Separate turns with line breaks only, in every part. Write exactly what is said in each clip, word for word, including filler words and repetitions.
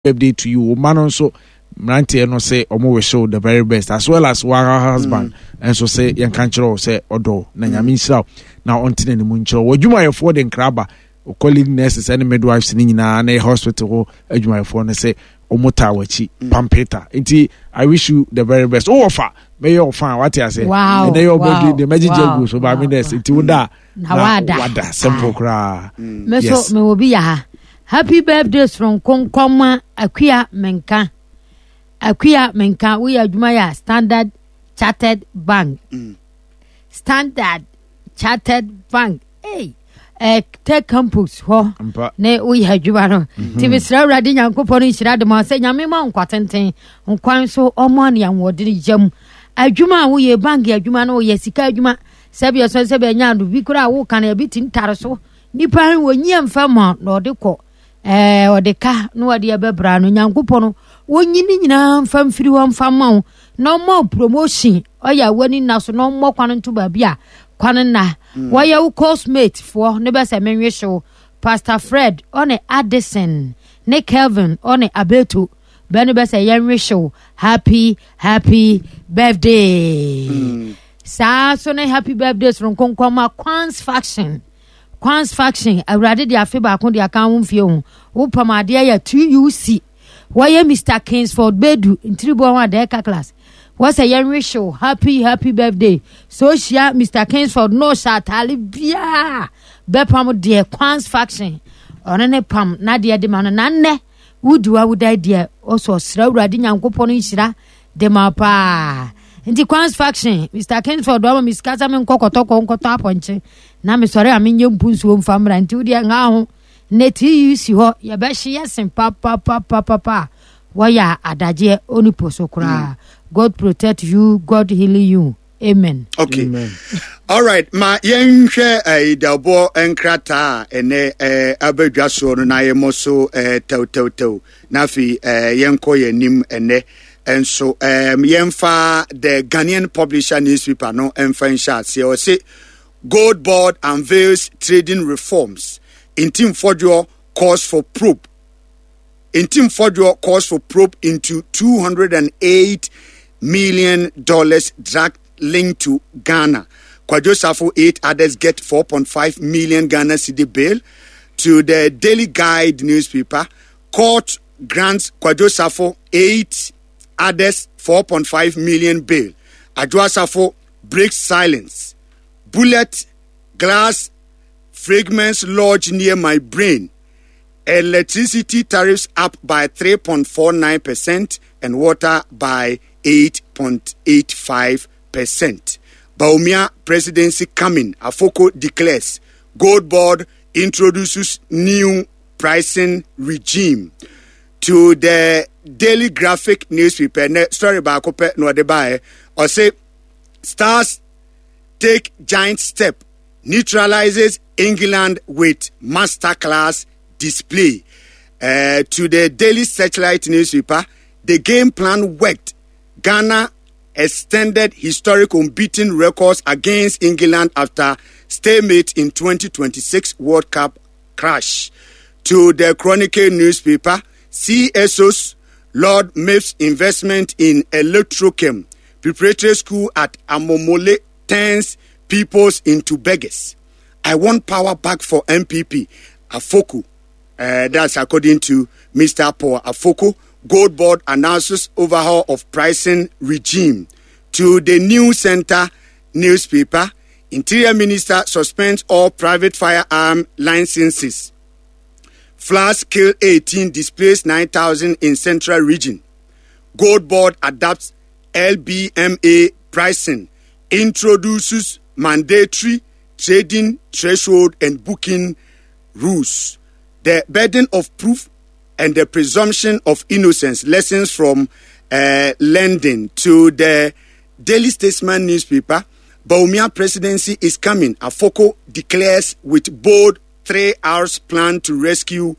Birthday to you. Wo ma no nso, mmeranteɛ no sɛ ɔmo wish you the very best, as well as wa husband mm. nso sɛ yɛnka nkyerɛ wo sɛ ɔdɔ na mm. Nyame nhyira wo na ɔnte n'anim nkyerɛ wo. Adwumayɛfoɔ de nkra ba, colleague nurses ne midwives ne nyinaa ne hospital hɔ adwumayɛfoɔ no sɛ ɔmo taa w'akyi mm. Pampeta nti I wish you the very best. Wowɔ fa mɛyɛ ɔfa a wate ase ɛnɛ yɛ ɔbɛdwi deɛ mɛgyegye agu so baame nurse nti woda
na wada
wada simple koraa.
Me so mewɔ bi yɛ ha. Happy birthday soronko nkɔma Akua Menka. Akua Menka, woyɛ adwuma yɛ a Standard Chartered Bank mm. Standard Chartered Bank, hey. Eh, tech campus hɔ ne woyɛ adwuma no mhm. Nti mesrɛ Awurade Nyankopɔn no nhyira de ma sɛ Nyame ma nkwa tenten nkwan so ɔma ne ahoɔden yam adwuma a woyɛ, bank adwuma no, woyɛ sika adwuma, sɛbi ɛsɛ sɛ bɛnya no bi koraa woka no ebi ti ntare so nipa wɔnyi mfa ma na ɔde kɔ ɛɛ ɔde ka na ɔde ɛbɛbra no. Nyankopɔn no wɔnyi ne nyinaa mfa mfiri hɔ mfa ma wo na ɔma wo promotion ɔyɛ a w'ani nna so na ɔmmɔ kwan nto baabi a kwan nna mm. Wɔyɛ wo coursemate foɔ ne bɛsɛ menwe hyew Pastor Fred ɔne Addison ne Kelvin ɔne Abeto bɛne bɛsɛ yɛnwe hyew happy happy birthday mm. Saa so ne happy birthday soronko nkɔma Kwans Faction. Kwans Faction, Awurade de afe baako de aka ho mfie ho. Wopam adeɛ yɛ T U C, wɔyɛ Mister Kingsford Bedu ntiriboɔ ho adɛɛka class, wɔsɛ yɛnwe hyew happy happy birthday. So ohyia Mister Kingsford na ɔhyɛ ataale biara bɛpam deɛ Kwans Faction ɔno ne pam n'adeɛ de ma no. Na nnɛ wodi wa woda deɛ ɔsɔ ɔsrɛ Awurade Nyankopɔn nhyira de ma paa. Nti Kwans Faction, Mister Kingsford ɔma me sika sɛ menkɔ kɔtɔkɔ nkɔtɔ apɔnkye na mesɔre a menyɛ mpu nsuo mfa mmra. Nti wodeɛ nha ho na T U C hɔ yɛbɛhye yɛsen papapapapa a wɔyɛ adagyeɛ onipo so koraa. God protect you, God heal you, amen.
Okay. Amen. All right, ma yɛnhwɛ uh, dawbɔ nkrataa a ɛnɛ uh, abadwa soɔ no na yɛmmɔ so uh, tɛwtɛwtɛw na afei uh, yɛnkɔ yɛn anim. Ɛnɛ nso um, yɛmfa the Ghanaian Publisher newspaper no mfa nhyɛ aseɛ. Ɔse Gold Board unveils trading reforms, Ntim Fordjour calls for probe, Ntim Fordjour calls for probe into two hundred eight million dollars drug linked to Ghana. Kwadwo Safo, eight others get four point five million Ghana cedi bail. To the Daily Guide newspaper, court grants Kwadwo Safo, eight others four point five million bail. Adwoa Safo breaks silence. Bullet glass fragments lodge near my brain. Electricity tariffs up by three point four nine percent and water by eight point eight five percent. Bawumia presidency coming, Afoko declares. Gold Board introduces new pricing regime. To the Daily Graphic newspaper, ne story baako pɛ na ɔde baeɛ. Ɔse Stars take giant step, neutralizes England with masterclass display. Uh, to the Daily Searchlight newspaper, the game plan worked. Ghana extended historic unbeaten records against England after stalemate in twenty twenty-six World Cup crash. To the Chronicle newspaper, C S Os laud MIIF's investment in Electrochem. Preparatory school at Amomole turns peoples into beggars. I want power back for N P P. Afoku. Uh, that's according to Mister Paul Afoko. Gold Board announces overhaul of pricing regime. To the New Center newspaper, Interior Minister suspends all private firearm licenses. Floods kill eighteen, displaced nine thousand in Central Region. Gold Board adapts L B M A pricing, introduces mandatory trading threshold and booking rules. The burden of proof and the presumption of innocence, lessons from uh, lending. To the Daily Statesman newspaper, Bawumia presidency is coming. Afoko declares with bold three hours plan to rescue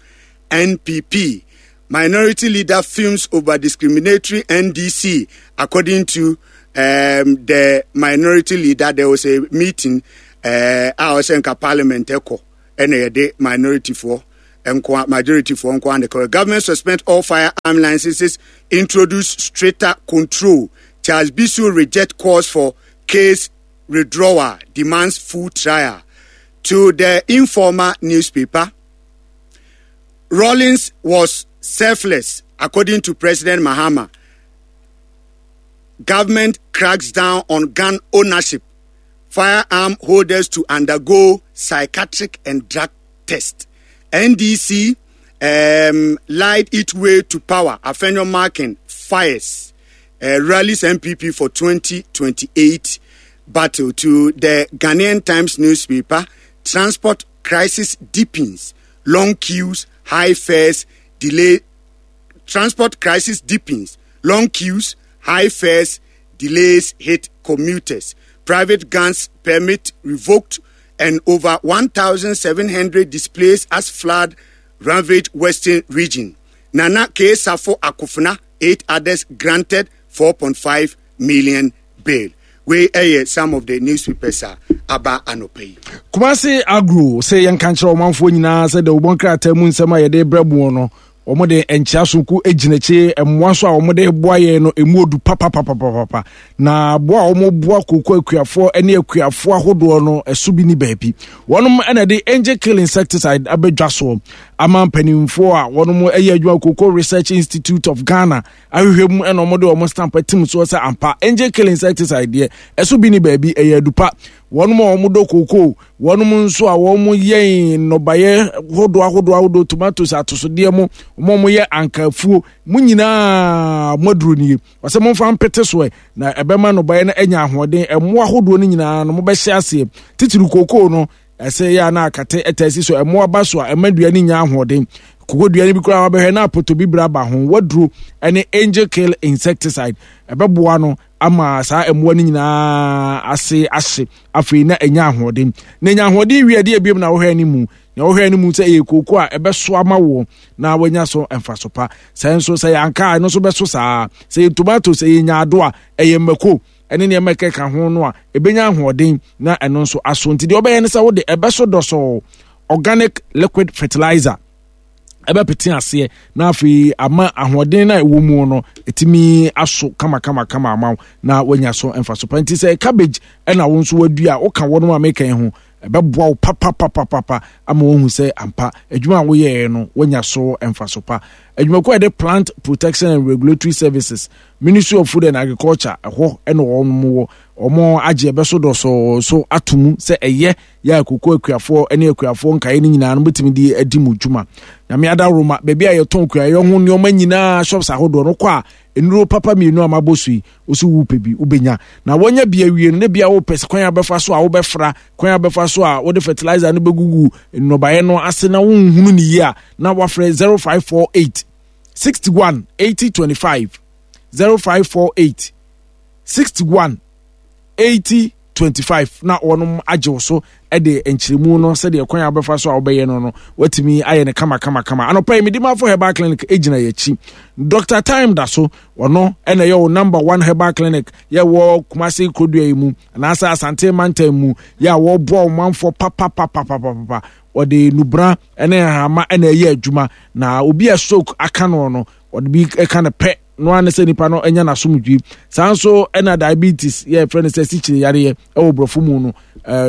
N P P. Minority leader fumes over discriminatory N D C. According to um, the minority leader, there was a meeting uh, a ɔsɛ nka parliament ɛkɔ ɛna yɛde minority foɔ Nkoa majority for nkoa and the government suspend all firearm licenses, introduce stricter control. Charles Bissue reject calls for case withdrawal, demands full trial. To the Informer newspaper, Rawlings was selfless, according to President Mahama. Government cracks down on gun ownership. Firearm holders to undergo psychiatric and drug test. N D C um, lied its way to power. Afenyo Markin fires. Uh, rallies N P P for twenty twenty-eight battle. To the Ghanaian Times newspaper, transport crisis deepens. Long queues, high fares, delay. Transport crisis deepens. Long queues, high fares, delays hit commuters. Private guns permit revoked and over one thousand seven hundred displaced as flood ravaged Western region. Nana K. Safo Akufuna, eight others granted four point five million bail. We hear some of the newspapers are about anope.
Kumasi Agro say yan kanchero manfo nyina say de obonkra tamu nsema ye de brabo no. Omode enchia sonko egineche emwa so a omode boa ye no emu odu papa papa papa na boa omo boa koko akuafo ene akuafo ahodo no eso bi ni baabi wonom ene de angel kill insecticide abedwa so ama mpanimfo a wonom eye adwuma Cocoa Research Institute of Ghana ahwehwem ene omode omo stamp atim so sɛ ampa angel kill insecticide de eso bi ni baabi eye adupa wonom omo koko wonom nso a womo yen nobaye hodo ahodo ahodo tomatoes atosode mo mo ye ankafuo mu nyina moduro nie wase momfa mpete so na ebema nobaye na enya ahoden emo ahodo no nyina no mobɛhye ase titiri koko no ese ya na akate etasi so emo aba so a emadua ni nya ahoden kokodua ni bi kura wabɛhwɛ na apoto bi bra ba ho waduro ene angel kill insecticide ebɛboa no ama saa emoa ni nyina ase ahye afei na enya ahoden na enya ahoden wi ade ebiem na wohwɛ ni mu na wohwɛ ni mu sɛ eye koko a ebeso ama wo na wanya so emfaso pa sɛ nso sɛ yanka no so beso saa sɛ tomato sɛ enya ado a eye mako ene ne emeke ka ho no a ebenya ahoden na eno nso aso nti de obɛyɛ ne sɛ wo de ebeso dɔso organic liquid fertilizer ebe pete ase na afi ama ahoden na ewo mu no etimi aso kama kama kama ama na wanya so emfaso pa nti sɛ cabbage na wo nso wadua wo ka wono ameka ho ebeboa wo papa papa papa ama wo hu sɛ ampa adwuma wo ye no wanya so emfaso pa adwuma ko de Plant Protection and Regulatory Services Ministry of Food and Agriculture ɛhɔ na wɔn wo omo agye ebe so do so atumu sɛ ɛyɛ ya akoko akuafo ne akuafo nkae ne nyinaa no betimi di adi mu dwuma na me ada roma baabi a yɛtɔn kua yɛ ho nneɛma nyinaa shops ahodoɔ no kɔ a nnuro papa mienu amaboso yi osu wu pe bi ubenya na wonya bia wie no ne bia wo pese kwan abefa so a wo bɛfra kwan abefa so a wo de fertilizer no begugu nnobae no ase na wo nhunu ne yi a na wafrɛ zero five four eight sixty-one eighty twenty-five zero five four eight sixty-one eighty twenty-five na wonom agye so e de nkyeremu no se de kwan abefa so a wobɛyɛ no no watimi ayɛ ne kama kama kama anopa yi Medimafo Herbal Clinic egyina yakyi Doctor Time da so ono ena ye wo number one herbal clinic ye wo Kumasi Kodua yi mu na asa Asante Mantam mu ye wo bo manfo papa papa papa papa ode nubra ene hama ena ye adwuma na obi a stroke aka no no ode bi e ka ne pe no ane se nipa no enya na somdwi sanso ena diabetes ye friend se sichire yare ye e wo brofo mu no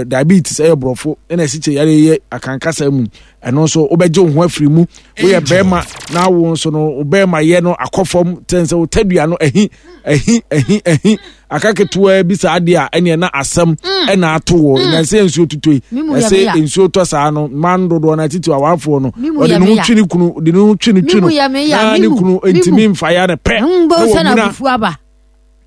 diabetes e brofo ena sichire yare ye akankasa mu eno so obeje ho afiri mu wo ye bema na wo nso no obema ye no akofom tense wo tadua no ahi ahi ahi ahi akaketewa bi sa ade a ene na asem ena ato wo na se nsuo tutoi se nsuo to saa no man dodo na titi awafo no ode no twi ne kunu de no twi ne twi no na ne kunu ntimi mfa ya ne pe
na bufu aba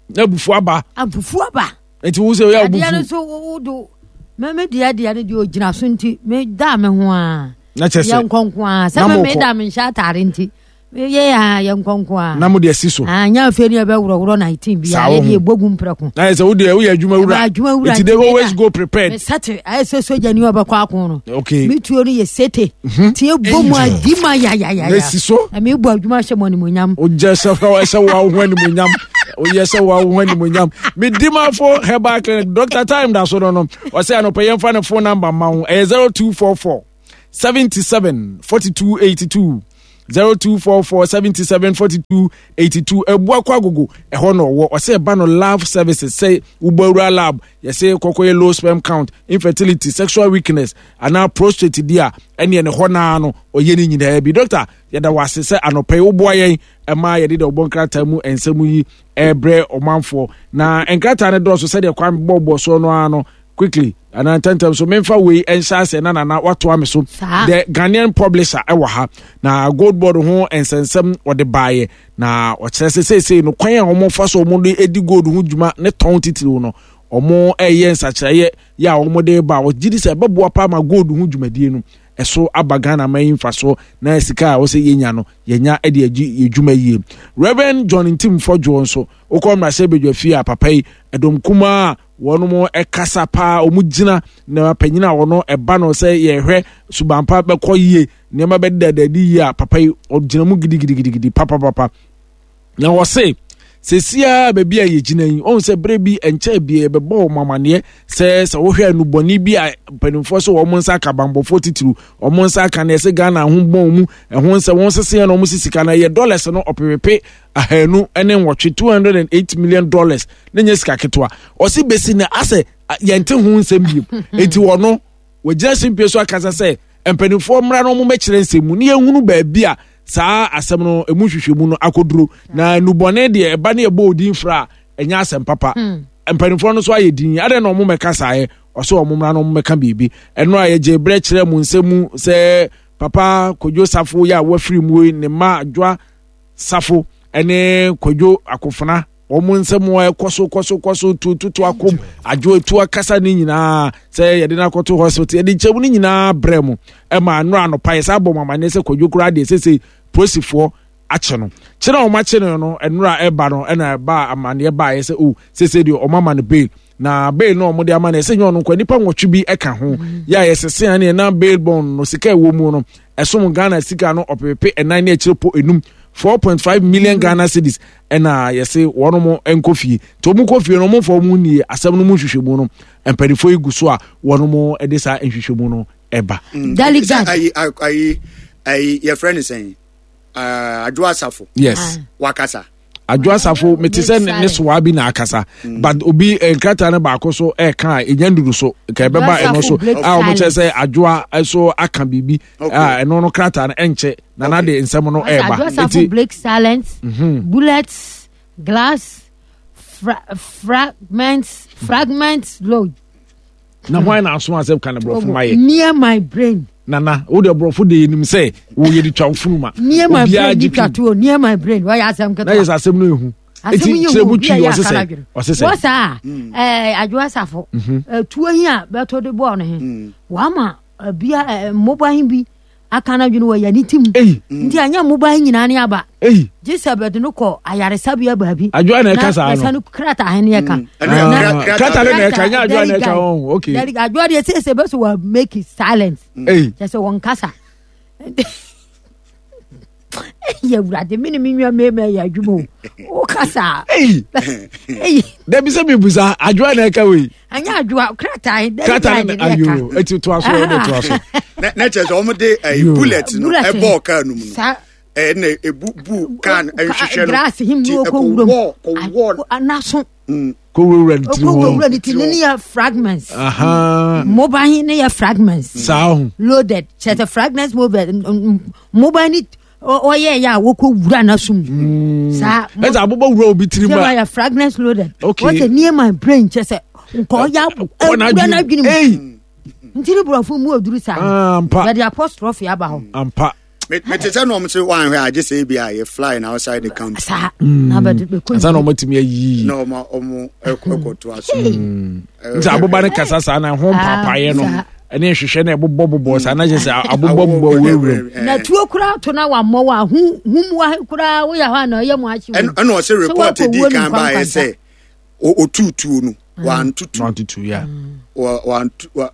na bufu aba
abufu aba
enti wo se ya bufu
ya no so wo do me me dia dia ne de ogina so nti me da me ho a
na chese
ya nkonko a se me me da me sha atare nti ye ya ye nkonko a
na mo de si so
ah nya aferi e be wuro wuro nineteen bi ya ye bogu mpreko
na ye se wo de wo ye adwuma wura enti they always go prepared
me sate ay so so jani obekwa akon no
okay
me tuo no ye sete ti e bomu adima ya ya ya
na si so
na me bu adwuma hye mo animonyam
o je se fa se wa ho animonyam o ye se wa ho animonyam me Medimafo Herbal Clinic Doctor Time da so no no o se anope yemfa ne phone number ma ho eh zero two four four seventy-seven forty-two eighty-two zero two four four seventy-seven forty-two eighty-two. Ebuakwa Agogo ɛhɔ na ɔwɔ. Ɔsɛ ɛba no lab services sɛ wobɔwura lab yɛsɛ kɔkɔyɛ low sperm count, infertility, sexual weakness anaa prostate di a ɛneɛ ne hɔ naa no ɔyɛ ne nyinaa bi. Doctor, yɛda wɔ ase sɛ anɔpɛ yi woboa yɛn ɛma yɛde dɛ ɔbɔ nkrataa mu nsɛm yi ɛbrɛ ɔmanfoɔ na nkrataa no dɔɔso sɛdeɛ kwan bɔɔbɔ soɔ no ara no quickly anaa ntɛntɛm so memfa wei nhyɛ ase na nana watoa me so. The Ghanaian Publisher ɛwɔ ha na Gold Board ho nsɛnsɛm ɔde baeɛ na ɔkyerɛ sɛ seesei no kwan a wɔfa so wɔn de edi gold ho dwuma ne tɔn titiriw no wɔn ɛyɛ nsakyerɛeɛ yɛ a wɔn de ba. Ɔgye di sɛ ɛbɛboa paa ma gold ho dwumadie no ɛso aba Ghana man yi mfa so na sika a wɔsɛ yɛnya no yɛnya de agye yɛ dwuma yie. Reverend John Ntim Fɔdwoɔ nso wokɔ mmarahyɛ badwa fie a papa yi ɛdɔm kumaa a wɔn ɛkasa paa wɔn gyina na panyin a wɔn ɛba no sɛ yɛhwɛ subanpa bɛkɔ yie nneɛma bɛdedadadi yie a papa yi ɔgyina mu gidigidigidi papapapa. Na wɔse sesia baabi a yɛgyina yi ɔhu sɛ berɛ bi nkyɛn bi yɛbɛbɔ wɔn amaneɛ sɛ sɛ wohwɛ anubɔne bi a mpanimfoɔ sɛ wɔn nsa aka bambɔfoɔ titiriw wɔn nsa aka na ɛsɛ Ghana ho bɔn mu ɛho nsɛ wɔn sese na wɔn sisi ka na yɛ dollars no ɔpepepe ahanu ne nwɔtwe two hundred and eight million dollars ne nyɛ sika ketewa. Ɔsi besi na asɛ yɛnte ho nsɛm biem eti wɔn wɔgyina simpie so akasa sɛ mpanimfoɔ mmra na wɔn bɛkyerɛ nsɛm mu ne yɛhunu baabi a saa asɛm no emu hwehwɛmu no akɔduro. Na nubɔne deɛ ɛba ne ɛbɔ odin fra a ɛnyɛ asɛm papa. Mpanimfoɔ no nso ayɛ din adɛn na wɔn mɛka saa yɛ ɔsɛ wɔn mmra na wɔn mɛka biribi. Ɛno a yɛgye brɛ kyerɛ mu nsɛm mu sɛ papa Kwadwo Safo yɛ a wafiri mu yi ne mma Adwoa Safo ɛne Kwadwo Akofena wɔn nsɛm a ɛkɔ so kɔ so kɔ so tututu akom adwo etu akasa ne nyinaa sɛ yɛde no akɔto hospital yɛde nkyɛn mu ne nyinaa brɛ mu ɛma nnora anɔpa yɛ sɛ abɔ mu amaneɛ sɛ Kwadwo koraa deɛ sese polisifoɔ akye no kyerɛ wɔn akye no no nnora ɛba no ɛna ɛba amaneɛ ba yɛ sɛ o sese deɛ wɔn ama no bail na bail no wɔn de ama no ɛsɛ nyɛ ɔno nkɔ nipa nwɔtwe bi ɛka ho yɛ a yɛsese ɛne ɛna bail bond no sika ɛwɔ mu no ɛsom Ghana sika no ɔpepepe ɛnan ne akyire po enum four point five million Ghana cedis ɛna yɛse wɔn mo nkɔ fie nti wɔn kɔ fie no wɔn mfa wɔn nie asɛm no mu nhwehwɛmu no mpanimfoɔ yi gu so a wɔn mo de saa nhwehwɛmu no ɛba.
Delegate
ayi ayi ayi yɛfrɛ no sɛn Adwoa Safo.
Yes.
Wakasa.
Adwoa Safo mete sɛ ne soa bi na akasa but obi nkrataa no baako so ɛka a ɛnya nduru so ka ɛbɛba ɛno so a wɔn kyerɛ sɛ Adwoa so aka biribi a ɛno no krataa no ɛnkyɛ na na de nsɛm no ɛɛba.
Adwoa Safo break silence, bullets, glass, fra fragments, fragments load.
Na hwan na aso asɛm ka ne borɔfo ma yɛ?
Near my brain.
Nana, wo de borɔfo de yenim sɛ wo yɛ de twa funu ma.
Near my brain di twa to near my brain. Why asɛm ketewa?
Na yɛ sɛ asɛm no ehu.
Asɛm
yi hu obi a yɛ akala dwene. Ɔsesɛ.
Wɔ saa ɛɛ Adwoa Safo. Tuo yi a bɛtɔ de bɔɔ no he. Wama bia mmoba he bi aka no adwene wɔ yɛ ne tim. Nti anyɛ mmoba he nyinaa ne aba. Gye sɛ bɛde no kɔ ayaresabea baabi.
Adwoa na ɛka saa no.
Na krataa he ne ɛka.
Krataa ne na ɛka nyɛ Adwoa na ɛka ɔn okay.
Adwoa deɛ sɛ sɛ bɛso wɔ make it silent. Kyɛ sɛ wɔn kasa. Yɛ wurade mi ni mi nua mmarima yɛ adwuma o. O kasa.
Dabi sɛ mi busa Adwoa na ɛka wei.
Anyɛ Adwoa krataa
krataa ne ayo eti to aso ɛde to aso.
Na kyerɛ sɛ wɔn de ɛyi bullet no ɛbɔɔ kaa no mu no. Ɛna ebu bu kaa no ɛhwehwɛ no.
Glass him
ti
no
ɛkɔ
kɔ wuram.
wɔ kɔ wɔ.
Anaso.
Kɔ wurawura ne tiri
Okɔ
hɔ.
wurawura ne tiri ne yɛ fragments. Mobile ne yɛ fragments.
Saa ho.
Loaded kyerɛ sɛ fragments mobile mobile ni ɔyɛ yɛ a wɔkɔ wura n'asom. Saa.
Ɛsɛ abobɔ wura obi tiri mu
a. Yɛ fragments loaded.
Okay.
Wɔsɛ near my brain kyerɛ sɛ nkɔ ya
wura
n'adwene mu. Nti ne borɔfo mu oduru saa.
Ampa.
Yɛde apostrophe aba hɔ.
Ampa.
Mete sɛ na ɔmo sɛ wanhwɛ agye sɛ ebi a yɛ fly na outside the country.
Saa. Na bɛ de
kɔ. Ansa na ɔmo atumi ayi.
Na ɔmo ɔmo ɛkɔ to aso.
Nti aboba no kasa saa na ho mpapaeɛ no ɛne nhwehwɛ na ɛbobɔ bobɔ saa na kyerɛ sɛ abobɔ bobɔ wurawura.
Na tuo koraa to na wammɔ wa hu hu mu wa koraa woyɛ hɔ a na ɔyɛ mu ahye.
Ɛna ɔsɛ report di kan ba ayɛ sɛ otutuo no wantutu.
Wantutu ya.
Wantu wa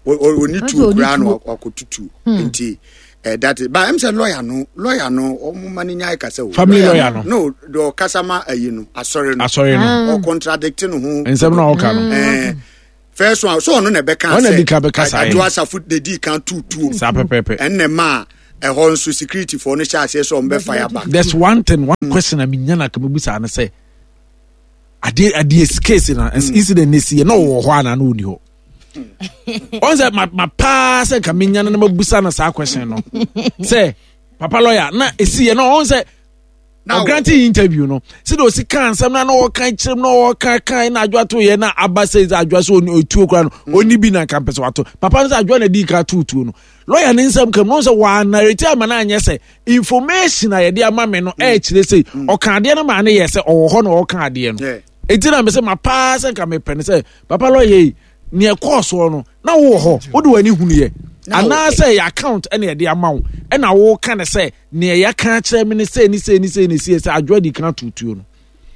oni tuo koraa na wakɔtutu nti. Uh, that is, but I'm saying lawyer no, lawyer no, omo mani nya kasa o.
Family lawyer no.
No, the kasa ma ayi no, asori no.
Asori no.
O contradict no ho.
Nsem na o ka no.
Eh, First one so ɔno na ɛbɛka
Ɔno na di kan bɛka saa yɛ.
Adwoa Safo de di kan tutuo.
Saa pɛpɛɛpɛ.
Ɛnna ma ɛhɔ nso security foɔ no hyɛ aseɛ sɛ ɔmo bɛ fire back.
There's one thing, one question a menya na kama bisa ne sɛ adeɛ adeɛ case na incident ne si yɛ na ɔwɔ hɔ ana na ɔni hɔ. Ɔn sɛ ma ma paa sɛ nka menya no na mabusa no saa question no sɛ papa lawyer na esi yɛ na ɔn sɛ
Na
ɔgrante interview no sɛdeɛ ɔsi ka nsɛm na na ɔka kyerɛm na ɔka kan na Adwoa to yɛ na aba sɛ sɛ Adwoa sɛ ɔni otuo kora no ɔni bi na nka mpɛ sɛ wato papa no sɛ Adwoa na di ka to tuo no, lawyer ne nsɛm kam no sɛ wɔanarete ama no anyɛ sɛ information a yɛde ama me no ɛɛkyerɛ sɛ ɔka adeɛ no maa ne yɛ sɛ ɔwɔ hɔ na ɔka adeɛ no.
Yeah.
Enti na mesɛ ma paa sɛ nka mepɛ no sɛ papa lawyer yi neɛ ɛkɔɔ soɔ no na wowɔ hɔ, wode w'ani hunuyɛ
Na wɔ-
anaasɛ yɛ account ɛna yɛde ama wo ɛna woka ne sɛ neɛ yɛka kyerɛ me ne sɛ ne sɛ ne sɛ ne sɛ sɛ Adwoa di kan tutuo no.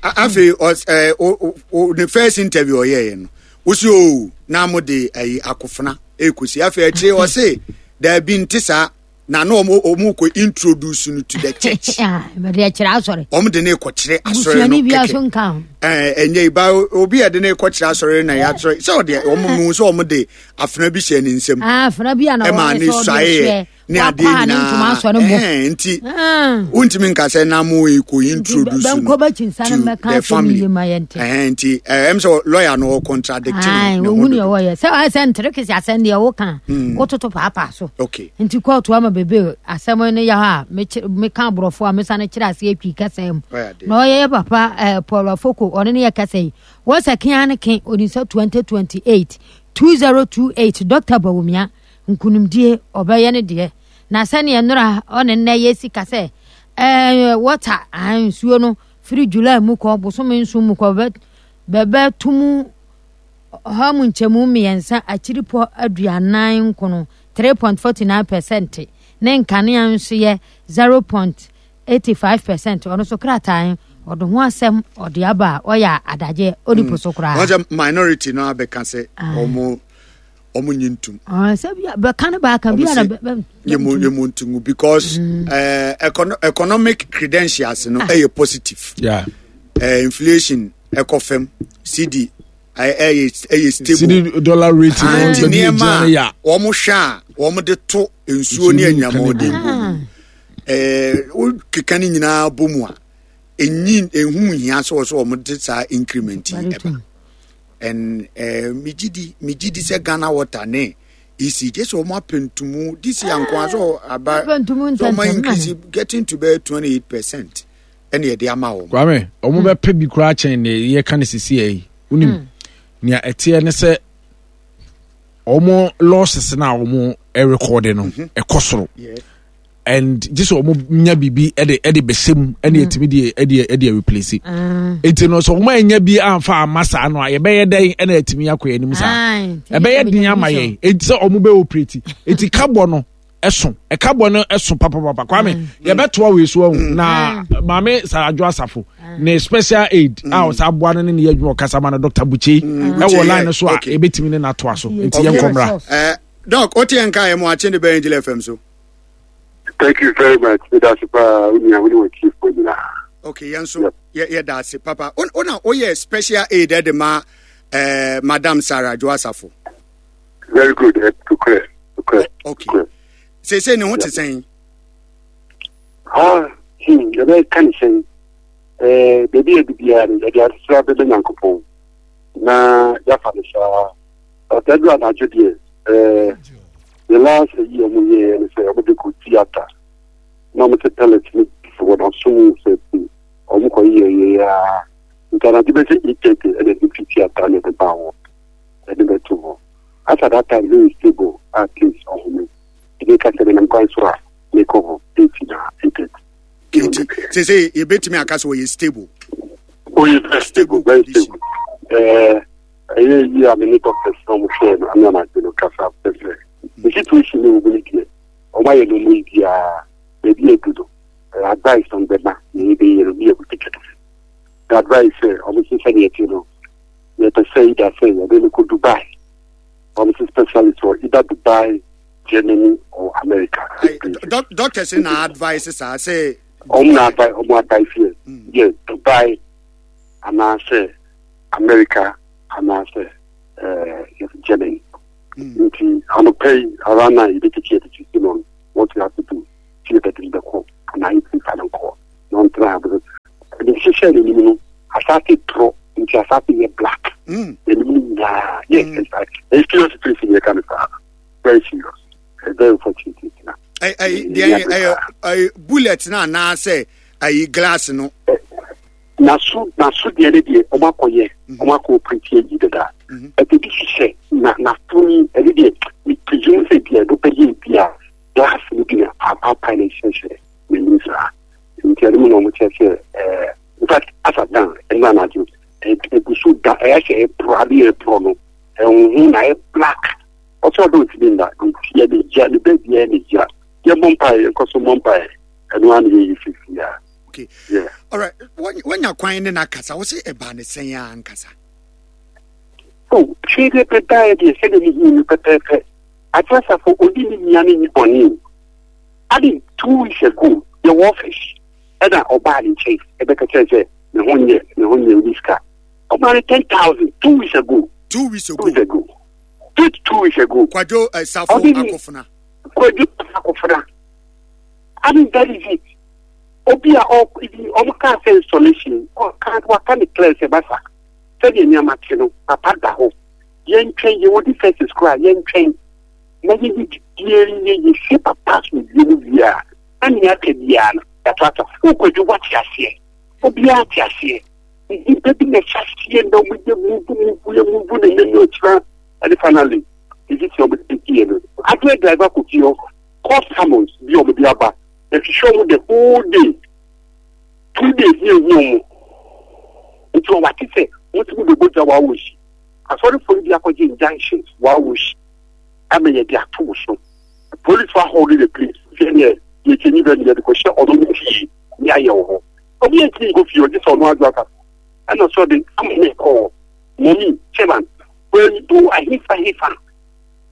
A- afei ɔs- ɛɛ, o o o ne first interview ɔyɛɛ no, wosi o na mo de ɛyi akofena ekosi. Afei akyire ɔse daabi, nte saa, na na ɔmo ɔmo kɔ introduce no to the church.
Bɛde ɛkyerɛ asɔre.
Ɔmo de ne kɔkyerɛ asɔre no
busuani bia so
kɛkɛ.
Nka ho.
Ɛɛ, ɛnyɛ yi ba obi a yɛde ne kɔkyerɛ asɔre na yɛatwerɛ sɛ ɔde ɔmo mu sɛ ɔmo de afena bi hyɛ ne nsam.
Ah, afena bi a na
ɛma
wɔyɛ
ne
sɛ ɔde
suaeɛ
ɛhwɛ
ne adeɛ
wakɔ a ne ntoma
nyinaa
asɔ ne bo.
Ɛhɛn, nti
Ah.
wontumi nka sɛ na mo ekɔ introduce no
bɛnkɔ bɛkyinsa no
to
mmɛka
the
asɛm
family.
yie ma yɛnte.
Ɛhɛn, nti ɛɛ ɛm sɛ lawyer no ɔcontradict
Ai,
ne ho
wɔhu neɛ
dodo.
wɔyɛ sɛ ɔyɛ sɛ ntere kese asɛm deɛ woka wototo paapaa so.
Okay.
Nti kɔɔto ama bebe asɛm no yɛ hɔ a mekyerɛ- meka aborɔfo a mesane kyerɛ aseɛ twi kasa mu.
Ɔyɛ adeɛ.
Na ɔyɛ yɛ papa eh, Paul Afoko, ɔne ne yɛ kasa yi wɔn sɛ kea ne ke onim sɛ twenty twenty-eight, twenty twenty-eight Doctor Bawumia nkonimdie ɔbɛyɛ ne deɛ na sɛneɛ nnora ɔne nnɛ yɛ sika sɛ ɛɛ wɔta ah, nsuo no firi July mu kɔ bosome nson mu kɔ bɛ bɛbɛto mu ɔha mu nkyɛmu mmiɛnsa akyiripɔ aduanan nkono, three point four nine percent, ne nkanea nso yɛ zero point eight five percent. Ɔno nso krataa ɔde ho asɛm ɔde aba a ɔyɛ adagye ɔde po so koraa.
Wɔn sɛ minority no abɛka sɛ ɔmo ɔmo nyi ntum.
Ah, sɛ bia bɛka no baaka bi
Ɔmo
ana
se
bɛ- bɛ-
yɛmu yɛmu ntum because ɛɛ econo economic credentials no ɛyɛ positive.
Yeah.
ɛɛ inflation ɛkɔ fam, cedi ɛyɛ ɛyɛ ɛyɛ stable.
Cedi dollar rate no
Ah, nti
baabi a
nneɛma
gyina no yɛ
a wɔn hwɛ a wɔn de to nsuo ne anyamɔden bɔ mu, ɛɛ wokeka ne nyinaa bɔ mu a, enyi ehu hia sɛ wɔsɛ wɔn de saa increment yi ɛba. And ɛɛ megye di megye di sɛ Ghana Water ne E C G sɛ wɔn apɛntumu this year nko ara sɛ aba
Apɛntumu
sɛ wɔn
ntɛntɛm.
Increase getting to bɛyɛ twenty eight percent ɛna yɛde ama wɔn.
Kwame, ɔmo bɛpɛ bi koraa kyɛn ne yɛka ne sisi yɛ yi. Wonim nea ɛteɛ ne sɛ ɔmo losses na ɔmo ɛrekɔde no ɛkɔ soro
Yeah.
and gye sɛ ɔmo nya biribi ɛde ɛde bɛhyɛ mu ɛne ɛtumi de ɛde ɛde replace. Eti no sɛ ɔmo anya bi amfa ama saa no a, yɛbɛyɛ dɛn ɛna ɛtumi akɔ yɛn anim saa? Ɛbɛyɛ den ama yɛn eti sɛ ɔmo bɛ operate. Eti kabɔ no ɛso, ɛkabɔ no ɛso papapapa. Kwame, yɛbɛtoa wei so ahu na maame Sarah Adwoa Safo ne special aid a ɔsa aboa no ne ne yɛ adwuma ɔkasa ma no, Doctor Buche, ɛwɔ line no so a
Okay.
ebɛtumi ne n'atoa so, nti
Okay.
yɛn nkɔmra.
ɛɛ doc, o ti yɛn ka yɛ mu akye de bɛyɛ Angel F M so.
Thank you very much. That's pa unia woni wɔ chief ko nyinaa.
Okay, yɛn nso yɛ yɛ da ase papa. O o na oyɛ special aid ɛde ma ɛɛ Madam Sarah Adwoa Safo.
Very good. Eh, to clear. To clear.
Okay, seesei ne ho te sɛn?
Ah, hmm, yɛbɛ ka ne sɛn. Eh, baabi a bibiara no, yɛde asesra bɛbɛ Nyankopɔn. Na yɛafa no saa. Ɔtadu anadwo deɛ, eh, the last yi a ɔmo yɛɛ ne sɛ ɔmo de kɔ theatre. Na ɔmo te pellet ne fi wɔ n'asom sɛ ti. Ɔmo kɔ yɛ yɛ ya. Nti anadwo bɛsɛ eight thirty ɛna ɛde fi theatre na ɛde ba hɔ. Ɛde bɛto hɔ. As at that time, very stable, at least ɔhome. Ebi ka sɛ menam kwan so a mekɔ hɔ eight na eight thirty.
Nti seesei yɛbɛtumi aka sɛ ɔyɛ stable?
Oyɛ very stable, very stable. Ɛɛ ɛyɛ yi a me ne doctors na ɔmo hwɛ no ane anadwo no kasa pɛ sɛ the situation ne wɔn mu deɛ ɔmo ayɛ no ɔmo yi biara baabi adu no, ɛɛ advice na ɔmo bɛma na yɛbɛyɛ no ne yɛ kɛkɛ. The advice sɛ ɔmo sɛ sɛdeɛ ɛte no, yɛpɛ sɛ either sɛ yɛde no kɔ Dubai, ɔmo sɛ specialist wɔ either Dubai, Germany or America.
Ayi, doc doctors na advice saa sɛ?
Ɔmo na advice, ɔmo advice yɛ yɛ Dubai anaasɛ America anaasɛ ɛɛ Germany. Nti anɔpɛ yi around nine yɛbɛtiki yɛde si no what we have to do ti yɛ bɛde bɛkɔ anaa yɛtumi fa no nkɔ na ɔntena ha because ɛde hyehyɛ n'anim no asase torɔ nti asase yɛ black n'anim no nyinaa. Yes, ɛyɛ serious situation yɛ ka no saa, very serious, very unfortunate na.
Ɛyi deɛ ɛyɛ ɛyɛ bullet na anaasɛ ɛyi glass no?
Naso naso deɛ ne deɛ ɔmo akɔyɛ, ɔmo akɔ operate ayi dada. Ɛde bi hyehyɛ na n'aso yi, ɛne deɛ mi presume sɛ deɛ ɛdo bɛyɛ bi a glass no bi na apaapae na ɛhyehyɛ n'anim saa. Nti ɛno mu na ɔmo kyerɛ sɛ ɛɛ in fact asa dan ɛno anadwo egu so da ɛyɛ sɛ ɛporɔ ade ɛporɔ no ɛhuhu na ɛyɛ black. Ɔsɛ ɔdɔ ntumi nda nti yɛ ne gya ne bɛɛ biara ne gya. Yɛ bɔ mpaeɛ, yɛnkɔ so bɔ mpaeɛ, ɛno ara na yɛyi sisi a.
Okay.
Yeah.
Alright, wanya kwan ne n'akasa, wo sɛ ɛbaa ne sɛn a ankasa?
Oh, hwee deɛ bɛdaeɛ deɛ sɛdeɛ mehu no pɛpɛɛpɛ. Adwoa Safo ɔdi ne nua ne ne bɔne. Ade two weeks ago yɛwɔ office ɛna ɔbaa ne nkyɛn ɛbɛka kyerɛ sɛ ne ho nyɛ ne ho nyɛ ɔni sika. Ɔmaa no ten thousand two weeks ago.
Two weeks ago.
Two weeks ago. Two, two weeks ago.
Kwadwo uh, Safo Akofena.
Kwadwo Akofena. I mean, that is it. Obi a ɔmo kaa sɛ installation ɔka waka ne clear sɛ basa sɛdeɛ nneɛma te no papa da hɔ, yɛntwɛn, yɛwɔ defenses koraa, yɛntwɛn na yɛyɛ didie yɛ yɛsie papa so wie no wie a na nea aka biara no yɛatoato. Wokwadwo wate aseɛ, obiara te aseɛ, nnipa bi na ɛhyɛ aseɛ na ɔmo yɛ muvu muvu yɛ muvu na ɛnyɛ ne ɔkyerɛ ɛne finally ɛsi sɛ ɔmo de fie no adeɛ driver kɔ fie hɔ court summons bi ɔmo de aba ɛhwehwɛ ɔmo the whole day, two days ne ehu ɔmo. Nti ɔwate sɛ wotumi bɛbɔ gya wɔ si asɔrefoɔ no bi akɔgye injunctions wɔ si ama yɛde ato wo so, police wa hold the place sɛ deɛ yɛkyɛ ni bɛ yɛde kɔhyɛ ɔno ne fie ne ayɛ wɔ hɔ. Obi yɛ ntumi nkɔ fie ɔgye sɛ ɔno adwo aka ɛna sɔ de ama ne kɔɔ mɔmi chairman wɔndu ahefa hefa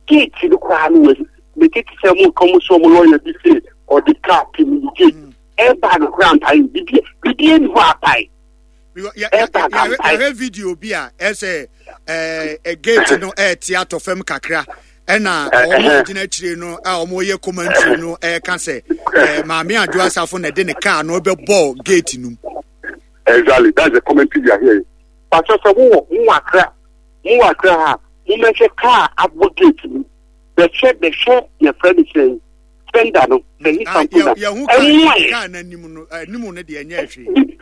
gate no koraa no wɔ mete te sɛ mo ka mo so ɔmo lɔya bi sɛ ɔde kaa pim gate ɛba no koraa mpae bibi bibi ani hɔ apae.
Yɛhwɛ video bi a ɛsɛ ɛɛ gate no ɛɛte atɔ fam kakra ɛna wɔn gyina akyire no a wɔyɛ commentary no ɛɛka sɛ ɛɛ maame Adwoa Safo na ɛde ne kaa no ɛbɛbɔ gate no mu.
Exactly, that's the commentary we are hearing. Pastor sɛ wowɔ mo Akra, mo wɔ Akra ha, mo mɛhwɛ kaa abɔ gate mu, bɛhwɛ bɛhwɛ yɛfrɛ no sɛ fender no sɛ nipa mpo na
ɛmu ayɛ kaa n'anim no anim no deɛ ɛnyɛ hwee.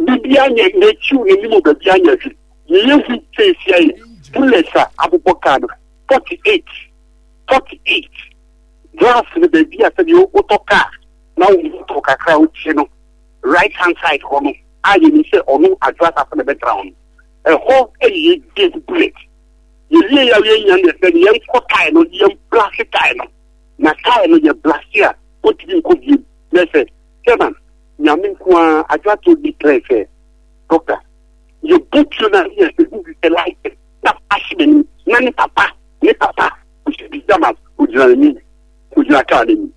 Bibi anyɛ n'akyi n'anim baabi anyɛ hwee. Yɛyɛ hu sɛ esi ayɛ bullets a abobɔ kaa no forty eight forty eight glass no baabi a sɛdeɛ wotɔ kaa na wotɔ kakra wotie no right hand side hɔ no a yɛnim sɛ ɔno Adwoa Safo na ɛbɛtra hɔ no ɛhɔ ɛyɛ dead bullet. Yɛwie yɛ a yɛnya no sɛ yɛnkɔ tae no, yɛn blast tae no na tae no yɛ blast a ɔntumi nkɔ biem. Na sɛ chairman nyame nko ara Adwoa to declare sɛ doctor yɛbɔ tuo no a yɛ sɛ hu bi sɛ light na ahye n'anim na ne papa ne papa ɔhyɛ pyjamas ogyina n'anim ogyina kaa n'anim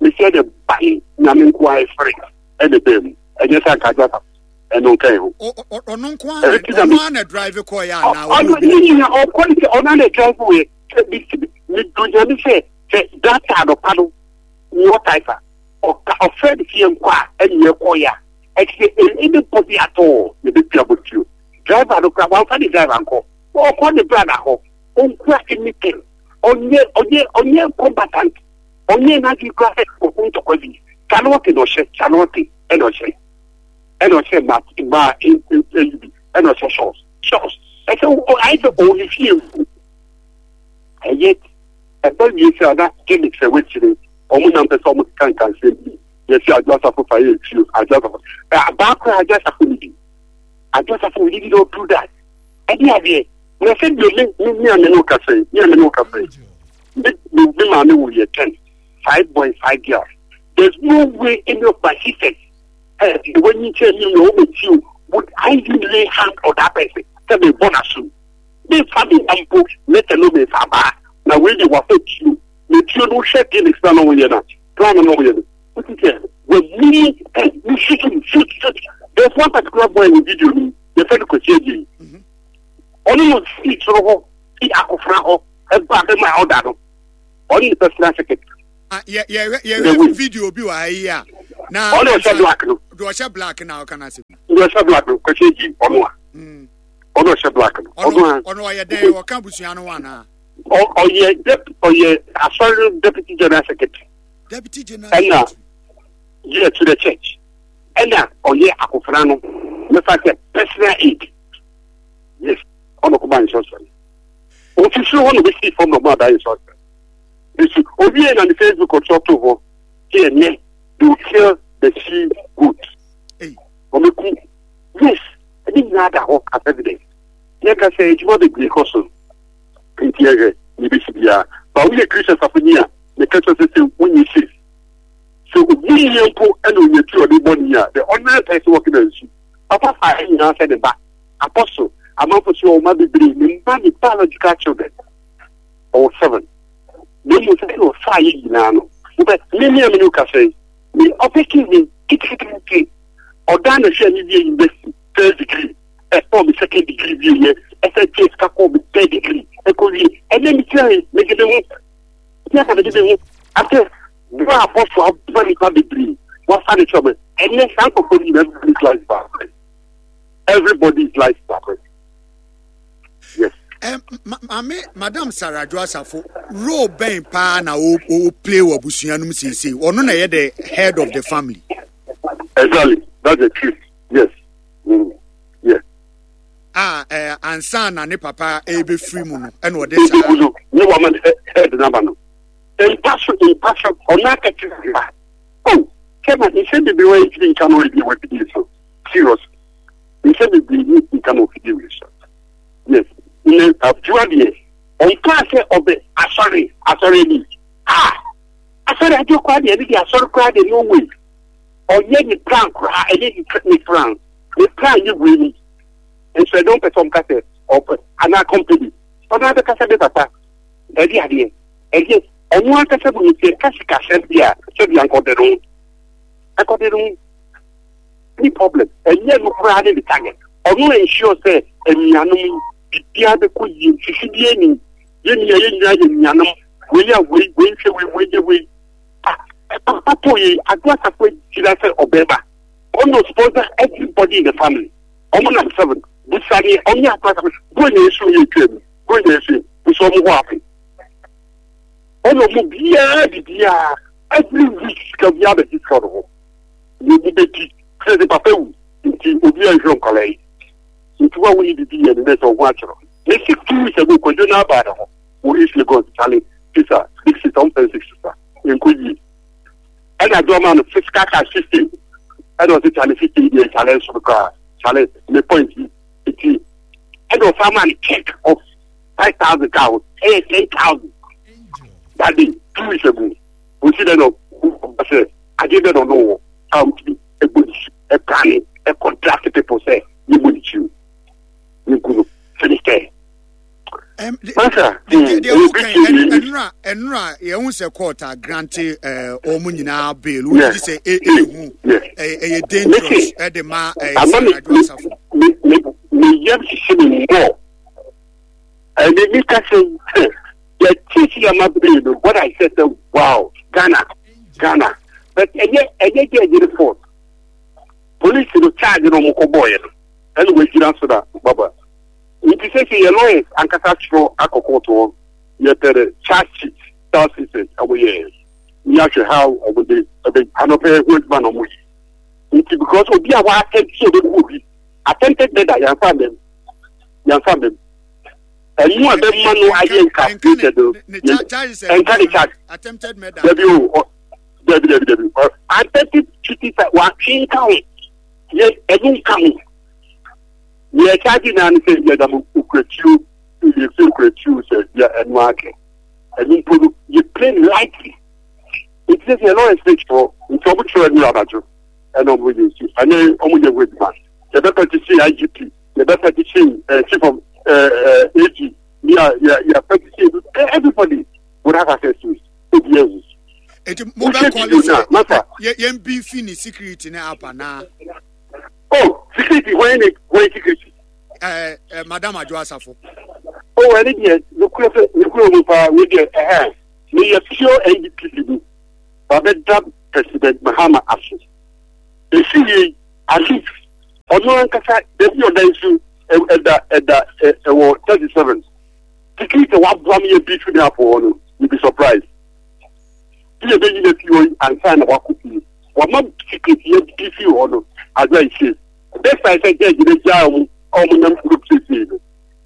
mesɛ dɛ bae nyame nko ara ɛfere ɛna bɛɛ mu ɛnyɛ sɛ anka Adwoa Safo ɛno nka ɛho.
Ɔno nko ara ɔno ara na drive kɔɔ yɛ anaa?
Ɔno ne nyina ɔkɔ ne sɛ ɔno ara na drive wɔ yɛ medo nyame sɛ sɛ data anɔpa no wɔ taifa ɔka ɔfrɛ ne fie nkɔ a ɛne ɛkɔ yɛ a ɛte sɛ anybody at all yɛbɛtua bɔtuo driver no kora wamfa ne driver nkɔ ɔkɔ ne bra na hɔ ɔnkura anything ɔnyɛ ɔnyɛ ɔnyɛ combatant ɔnyɛ n'adwene kora sɛ ɔko ntɔkwa bi kyalɔte na ɔhyɛ kyalɔte ɛna ɔhyɛ ɛna ɔhyɛ ma ma ɛyi bi ɛna ɔhyɛ shorts shorts ɛsɛ ayɛ sɛ ɔwɔ ne fie nku ɛyɛ ɛbɛ wie sɛ ɔda gimmicks ɛwɔ akyire ɔmo nam pɛ sɛ ɔmo keka nkansɛm bi yɛsi Adwoa Safo fa yɛ etuo Adwoa Safo ɛ abaa koraa Adwoa Safo ni bi Adwoa Safo we did not do that ɛdi adeɛ na sɛ deɛ me me me ame no kasa yi me ame no kasa yi me me me maame wɔ yɛ ten five boys five girls. There's no way any of my sisters ɛ the way you tell me na ɔmo ti o would I even lay hand on that person sɛ me bɔ n'aso me fa me mpo let alone me fa baa na wei de wafa tuo na tuo no hwɛ gimmicks na na ɔyɛ na plan na ɔyɛ no wotu sɛ wɔmini ɛ ne shoot shoot shoot. There's one particular boy in the video no yɛfɛ no Kwasi Agye ɔno no si soro hɔ ofi akofra hɔ ɛba bɛma ɔda no ɔne ne personal secretary.
Yɛ yɛ yɛ video bi wɔ ha yi a na
ɔne ɔhyɛ black no
deɛ ɔhyɛ black na ɔka n'asɛm
deɛ ɔhyɛ black no kɔhyɛ gyi ɔno a ɔno ɔhyɛ black no ɔno a
ɔno ɔyɛ dɛn ɔka abusua no ho anaa
ɔyɛ dep ɔyɛ asɔre deputy general secretary
deputy general
ɛna yɛ to the church ɛna ɔyɛ akofra no mefa sɛ personal aid yes ɔno kɔba nsɔsɔre ofisiri hɔ na obesi fam na ɔmo ada nsɔsɔre nso obi yɛ na ne Facebook ɔtɔ to hɔ sɛ ɛnɛ they will kill the she goat ɔmo ku yes ɛne nyinaa da hɔ as evidence yɛn ka sɛ adwuma bebree kɔ so nti yɛhwɛ ne bɛsi biara ba woyɛ Christian safoni a meka kyerɛ sɛ sɛ wonyɛ safe so obi yie mpo ɛna onya ti ɔde bɔ ne a the ordinary person working on nsu papa fa ɛ nyinaa sɛ ne ba apostle amanfo so ɔma bebree ne mma ne biological children ɔwɔ seven na emu sɛ ɛna ɔfa yɛ nyinaa no wobɛ me ne amene kasa yi me ɔpɛki me kitikiti ɔdan na hwɛ ne wie university first degree ɛkɔ me second degree wie yɛ ɛsɛ tie sika kɔ me third degree ɛkɔ wie ɛnɛ me kyerɛ yi mede me ho ní aka mede me ho after bro apostle aboa nipa bebree wafa ne kyerɛ me ɛnɛ saa nkɔkɔ ni everybody's life is everybody's life is yes.
Um, maame Madam Sarah Adwo Asafo role bɛn paa na o o play wɔ abusua no mu seesei ɔno na yɛ the head of the family.
Exactly, that's the truth. Yes. Mm. Yes.
A eh, ansa na ne papa ebefiri mu no ɛna ɔde saa.
Ebi no ne wɔn head naba no mpa so mpa so ɔno akɛkyerɛ ha oh kɛma nsɛm bebree wɔ etiri nka no ebi wɔ fidie so serious nsɛm bebree ni nka no fidie wɔ so yes ne adwuma deɛ ɔnka sɛ ɔbɛ asɔre asɔre ni ah asɔre adwo koraa deɛ ɛne deɛ asɔre koraa deɛ no way ɔyɛ ne plan koraa ɛne ne plan ne plan yɛ wei ni nso ɛdɔm pɛ sɛ ɔmka sɛ ɔpɛ anaa company ɔno abɛkasa bɛ papa ɛde adeɛ ɛdeɛ ɔno ankasa bu ne sɛ kasikasɛm bi a sɛbi ankɔde no ɛkɔde no ni problem ɛnyɛ no koraa ne ne target ɔno ensure sɛ anuanom biribiara bɛkɔ yie sisi bi anim yɛn nua yɛn nyinaa yɛ nuanom wei a wei wei nhwɛ wei wei yɛ wei ah papa to yi Ado Asafo gyina sɛ ɔbɛba ɔno sponsor everybody in the family ɔmo nam seven busani ɔne Ado Asafo bro na esu yɛ etwa mu bro na esu busa ɔmo hɔ afe ɔno ɔmo biara bibiara every week sika biara bɛ sika ɔno hɔ na ebi bɛ di sɛ papa wu nti obi a nhwɛ nkɔla yi nti wa wuli bibi yɛ ne sɛ ɔho akyerɛ ne six two weeks ago kwadwo na aba ne ho wɔ East Lagos Charlie sisa big sister ɔmpɛ six sister nko yie ɛna adɔma no physical cash fifteen ɛna ɔsɛ Charlie fifteen yɛ Charlie nso koraa Charlie ne point yi nti ɛna ɔfa ma no check of five thousand kaa ho ɛyɛ ten thousand that day two weeks ago osi dɛ na ɔba sɛ adeɛ bɛ na ɔno wɔ a ɔtumi ɛbɔ ne su ɛprane ɛkɔntract people sɛ yɛbɔ ne kyi o yɛnku no finish there. Masa,
ɛnura ɛnura yɛn ho sɛ court a grante ɛɛ wɔn nyinaa bail wɔn ti sɛ ehu ɛyɛ dangerous ɛde ma ɛyɛ Sarah Adwo Asafo.
Me me me yam sisi mi mbɔ ɛni mi ka sɛ yɛ ti si ama bail no what I said sɛ wow Ghana Ghana but ɛyɛ ɛyɛ jɛ ɛyɛ fault police no charge no ɔmo kɔ bɔɔ yɛ no ɛna wɔn gyina so na baba. Nti sɛ sɛ yɛ lawyers ankasa twerɛ akɔ court hɔ yɛpɛ dɛ charge sheet charge sheet ɔmo yɛ ní ahwɛ how ɔmo de ɛbɛ anɔpɛ ho adwuma na ɔmo yi nti because obi a w'attempt sɛ ɔbɛku obi attempted murder yanfa mɛm yanfa mɛm ɛnu a bɛma no ayɛ incapacitated no ɛnka ne charge
attempted murder
dabi o dabi dabi dabi attempted cheating sɛ watwe nka ho yɛ ɛnu nka ho. Yɛ charge naa ne sɛ yɛ dam okuatuo yɛ fi okuatuo sɛ yɛ ɛnu ake ɛnu mpo no yɛ play lightly nti sɛ yɛ lawyer sɛ kyerɛ nti ɔmo kyerɛ ɛnu anadwo ɛna ɔmo yɛ nsu ɛnɛ ɔmo yɛ ho adwuma yɛ bɛ petition I G P yɛ bɛ petition ɛɛ chief of ɛɛ ɛɛ A G yɛ yɛ yɛ petition everybody would have access to it obi ɛhu.
Eti mo bɛ kɔli sɛ yɛ yɛn bi fi ni security ne apa naa.
Oh, security, when when security?
Uh, uh, Madam Adwo Asafo.
Oh, Oh, ɛne deɛ nokura sɛ nokura mu paa wei deɛ ɛhɛn meyɛ pure N D P C bi babɛda President Mahama ase. Esi yie, at least ɔno ankasa baabi a ɔda nso ɛda ɛda ɛwɔ thirty seven. Security waboa mi yɛ bi fi ne apɔ hɔ no, you be surprised. Bi yɛ bɛyi na fi hɔ yi ansa na wakɔ fie, wama security yɛ bi fi hɔ no adwa nhyɛ. Despite sɛ judge ne gyaa ɔmo a ɔmo nam kuro siesie no,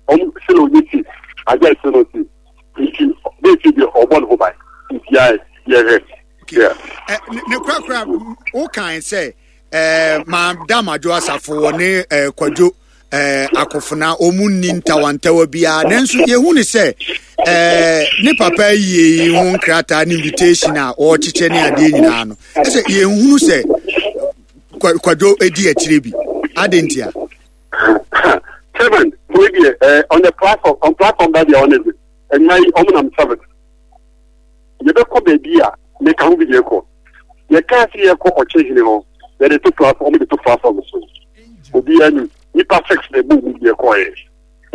ɔmo sɛ na ɔnyɛ safe, adwa nhyɛ no safe, nti bɛɛ fi deɛ ɔbɔ ne ho ban, nti yɛ yɛhwɛ.
Ne korakora wokan sɛ Madam Adwo Asafo wɔ ne Kwadwo Akofena ɔmu nni ntawantawa biara, nanso yɛhu ne sɛ ne papa yie yi ho nkrataa ne invitation a ɔrekyekyɛ ne adeɛ nyinaa no, ɛsɛ yɛnhunu sɛ Kwadwo di akyire bi ade ntia.
Seven wey deɛ on the platform, on platform da deɛ ɔne de ɛnna yi ɔmo nam seven yɛbɛkɔ baabi a meka ho bi deɛ kɔ yɛkaa sɛ yɛkɔ ɔkyehene hɔ, yɛde to platform, ɔmo de to platform so, obiara ni nipa six na ɛbɔ mu deɛ kɔɛ.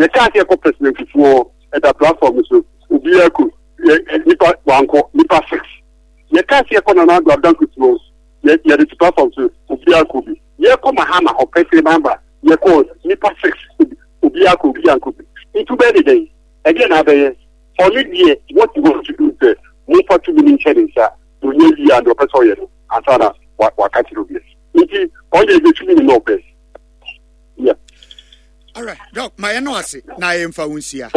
Yɛkaa sɛ yɛkɔ President Fufuo, ɛda platform so, obiara kɔ yɛ nipa wankɔ, nipa six. Yɛkaa sɛ yɛkɔ Nana Ado Adanko hɔ, yɛde to platform so, obiara kɔ bi. Yɛkɔ Mahama hɔ, President Mahama, yɛkɔ nipa six, obiara kɔ, obiara nkɔ bi. Ntu bɛyɛ de dɛn ɛdeɛ na abɛyɛ ɔne deɛ what you want to do sɛ momfa tumi no nhyɛ ne nsa na ɔnyɛ wie a deɛ ɔpɛ sɛ ɔyɛ no ansa na waka kyerɛ obi. Nti ɔnyɛ ɛdɛ tumi no na ɔpɛ yeah.
Alright, Doc, ma yɛn no ase na yɛmfa wo nsia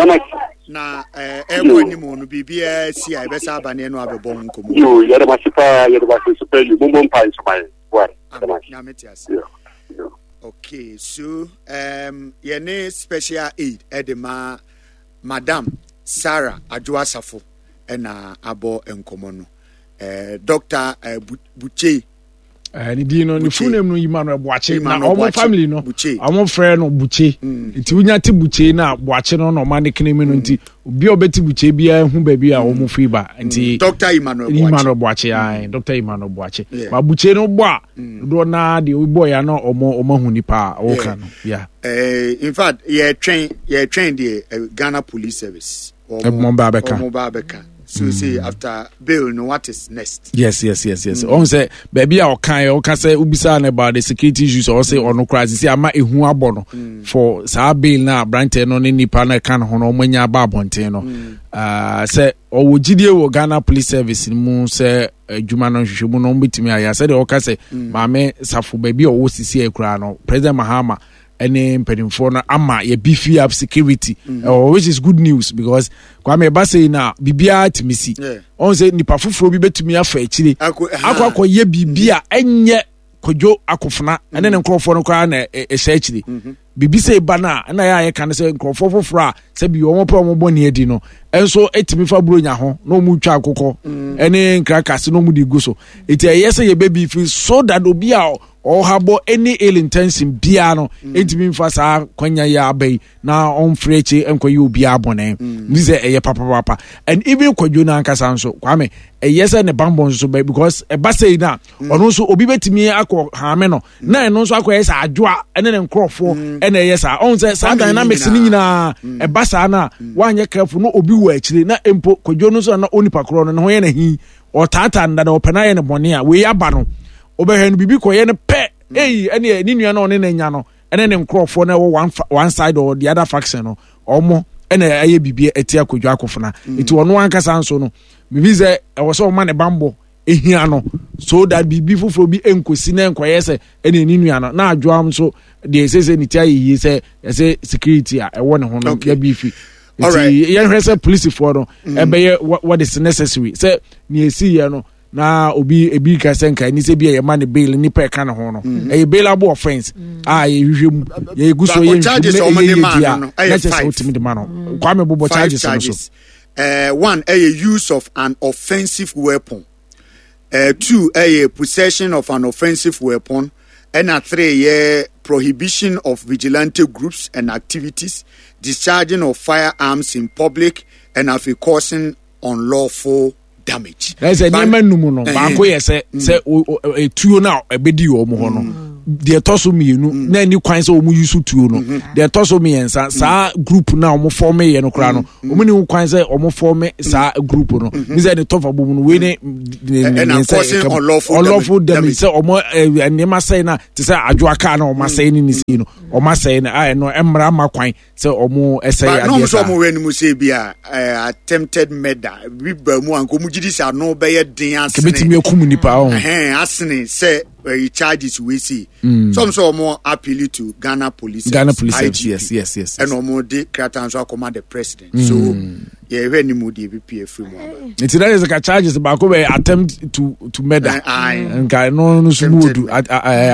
na ɛkɔ anim no, biribiara si a yɛbɛsa aba ne ɛno abɛbɔ ho nkɔmmɔ.
Yo, yɛde ma se paa, yɛde ma se so pɛ yi, mommɔ mpa nso ma yɛ why.
Nyame te ase. Okay, so um, yɛne special aid ɛde ma Madam Sarah Adwo Asafo ɛna abɔ nkɔmmɔ no, uh, Doctor uh, Buche.
Ne din no, ne full name no Emmanuel Boakye, na ɔmo family no ɔmo frɛ no Buche, nti wonya te Buche na Boakye no na ɔma ne kene mi no, nti obi a ɔbɛte Buche biara hu baabi a ɔmo firi ba, nti
Doctor Emmanuel
Boakye, Emmanuel Boakye ayi, Doctor Emmanuel Boakye. Ba Buche no bɔ a dodoɔ naa deɛ ɔbɔ ya na ɔmo ɔmo ahu nipa a ɔka no ya.
In fact, yɛtwɛn yɛtwɛn deɛ Ghana Police Service
ɔmo ba abɛka.
Ɔmo ba abɛka so mm. say after bail no, what is next?
yes yes yes yes ɔn sɛ baabi a ɔka yɛ ɔka sɛ obisa no about the security issues, ɔsɛ ɔno koraa sisi ama ehu abɔ no for saa bail na aberanteɛ no ne nipa no ɛka ne ho no ɔmo anya aba abɔnten no, sɛ ɔwɔ gyidie wɔ Ghana Police Service mu sɛ adwuma no nhwehwɛ mu no ɔmo betumi ayɛ sɛdeɛ ɔka sɛ Maame Safo baabi a ɔwɔ sisi yɛ koraa no, President Mahama ɛne mpanimfoɔ no ama yɛ beef up security mm. uh, which is good news, because Kwame, ɛba sɛ na biribiara tumi si, ɔn sɛ nipa foforɔ bi bɛtumi afa akyire akɔ akɔyɛ biribi a ɛnyɛ Kwadwo Akofena ɛne ne nkurɔfoɔ no koraa na ɛhyɛ akyire. Biribi sɛ ɛba no a ɛna yɛ a yɛka no sɛ nkurɔfoɔ foforɔ a sɛbi wɔn pɛ wɔn bɔ ne adi no ɛnso ɛtumi fa buronya ho na wɔn twa akokɔ ɛne nkrakase na wɔn de gu so. Eti ɛyɛ sɛ yɛbɛ bi so that obi a ɔhabɔ any ill intention biara no ɛntumi nfa saa kwanya yi aba yi na ɔmfiri akyi nkɔyɛ obiara bɔne. Nti sɛ ɛyɛ papapapa, and even Kwadwo no ankasa nso, Kwame, ɛyɛ sɛ ne bambɔ nso bɛ, because ɛba sɛ yi na ɔno nso obi bɛtumi akɔ haame no na ɛno nso akɔyɛ sɛ Adwoa ɛne ne nkurɔfoɔ ɛna ɛyɛ saa. Ɔn sɛ saa dynamics no nyinaa ɛba saa no a woanyɛ careful no, obi wɔ akyire na mpo Kwadwo no nso na onipa korɔ no ne ho yɛ n'ahi, ɔtaataa no dada, ɔpɛ no ayɛ no bɔne a wei aba no, wobɛhwɛ no biribi kɔyɛ no pɛ eyi ɛne ne nua no ɔne n'anya no ɛne ne nkurɔfoɔ no ɛwɔ one one side or the other faction no, ɔmo ɛna ɛyɛ biribi ɛti Akwadwo Akofena. Nti ɔno ankasa nso no, biribi sɛ ɛwɔ sɛ ɔma ne bambɔ ehia no so that biribi foforɔ bi nkosi na nkɔyɛ sɛ ɛne ne nua no na Adwoa nso deɛ ɛsɛ sɛ ne ti ayɛ yie sɛ ɛsɛ security a ɛwɔ ne ho no yɛ bi fi. Nti yɛhwɛ sɛ polisifoɔ no ɛbɛyɛ what is necessary sɛ nea esi yɛ no na obi ebi ka sɛ nka ɛni sɛ bi a yɛma ne bail, nipa ɛka ne ho no ɛyɛ bailable offence a yɛhwehwɛ mu, yɛgu so yɛ nhwehwɛ mu na ɛyɛ yie di a na kyerɛ sɛ wotumi de ma no. Kwame, bobɔ charges no so.
Uh, one ɛyɛ use of an offensive weapon, uh, two ɛyɛ possession of an offensive weapon, ɛna three yɛ prohibition of vigilante groups and activities, discharging of firearms in public, and afei causing unlawful damage.
Ɛsɛ nneɛma num no baako yɛ sɛ sɛ etuo no a ɛbɛdi wɔn hɔ no. Deɛ ɛtɔ so mmienu, na ɛni kwan sɛ wɔn use tuo no. Deɛ ɛtɔ so mmiɛnsa, saa group na wɔn form yɛ no koraa no, wɔn ni ho kwan sɛ wɔn form saa group no. Mi sɛ ne tɔfa bɔ mu no, wei ne ne ne nsa unlawful damage sɛ wɔn nneɛma sɛɛ na te sɛ adwoa kaa na wɔn asɛe ne ne si no, wɔn asɛe no a ɛno mmara ma kwan sɛ wɔn ɛsɛe adeɛ saa.
Na wɔn sɛ wɔn wɛ no mu sɛ bi a attempted murder bi ba mu a nka wɔn gyi di sɛ ano bɛyɛ den asene.
Kebetumi akum nipa ɔho.
Ɛhɛn asene sɛ ɛyi charges wei si. Some sɛ wɔn appeal to Ghana Police.
Ghana Police Service, yes yes yes.
Ɛna wɔn de krataa nso akɔma the president. So yɛhwɛ ne mu deɛ ebi pie firi mu aba.
Nti na yɛ sɛ ka charges baako bɛ attempt to to murder. Nka no no so mu odu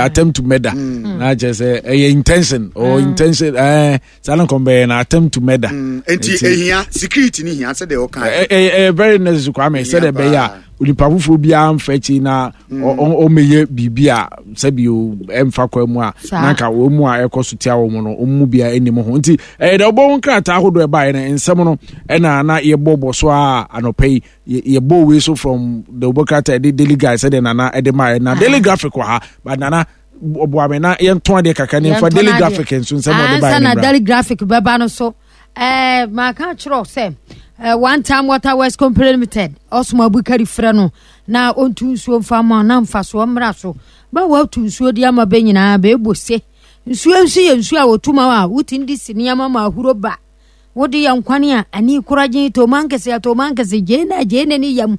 attempt to murder. Na kyerɛ sɛ ɛyɛ intention or intention ɛɛ saa na nkɔm bɛyɛ na attempt to murder.
Nti ehia security ni hia sɛ deɛ ɔka.
Ɛyɛ ɛyɛ very necessary, Kwame, sɛ deɛ ɛbɛyɛ a onipa foforɔ biara mfa akyi na ɔmmɛyɛ biribi a sɛbi ɛmfa kwan mu a na nka wɔn mu a ɛkɔ so tia wɔn no, wɔn mu biara anim ho. Nti ɛyɛ dɛ ɔbɔ ho nkrataa ahodoɔ ɛbaeɛ no nsɛm no ɛna na yɛbɔ bɔ so a anɔpa yi yɛbɔ wei so from the ɔbɔ krataa ɛde Daily Guide sɛdeɛ Nana ɛde maa yɛ na Daily Graphic wɔ ha, but Nana ɔboa me na yɛntɔn adeɛ kakra ne yɛmfa Daily Graphic nso nsɛm ɔde baeɛ
no mmra. Daily Graphic bɛba no so, ɛɛ maka kyerɛ sɛ uh, One Time Water West Company Limited ɔsoma Abukari frɛ no na ɔntu nsuo mfa ma na mfasoɔ mmra so ba watu nsuo de ama bɛ nyinaa bɛɛbɔ se nsuo nso yɛ nsuo a wɔtu ma a wotumi de si nneɛma ma ahuro ba wode yɛ nkwane a ani koragye toma nkɛse atoma nkɛse gyee na gyee na ne yam.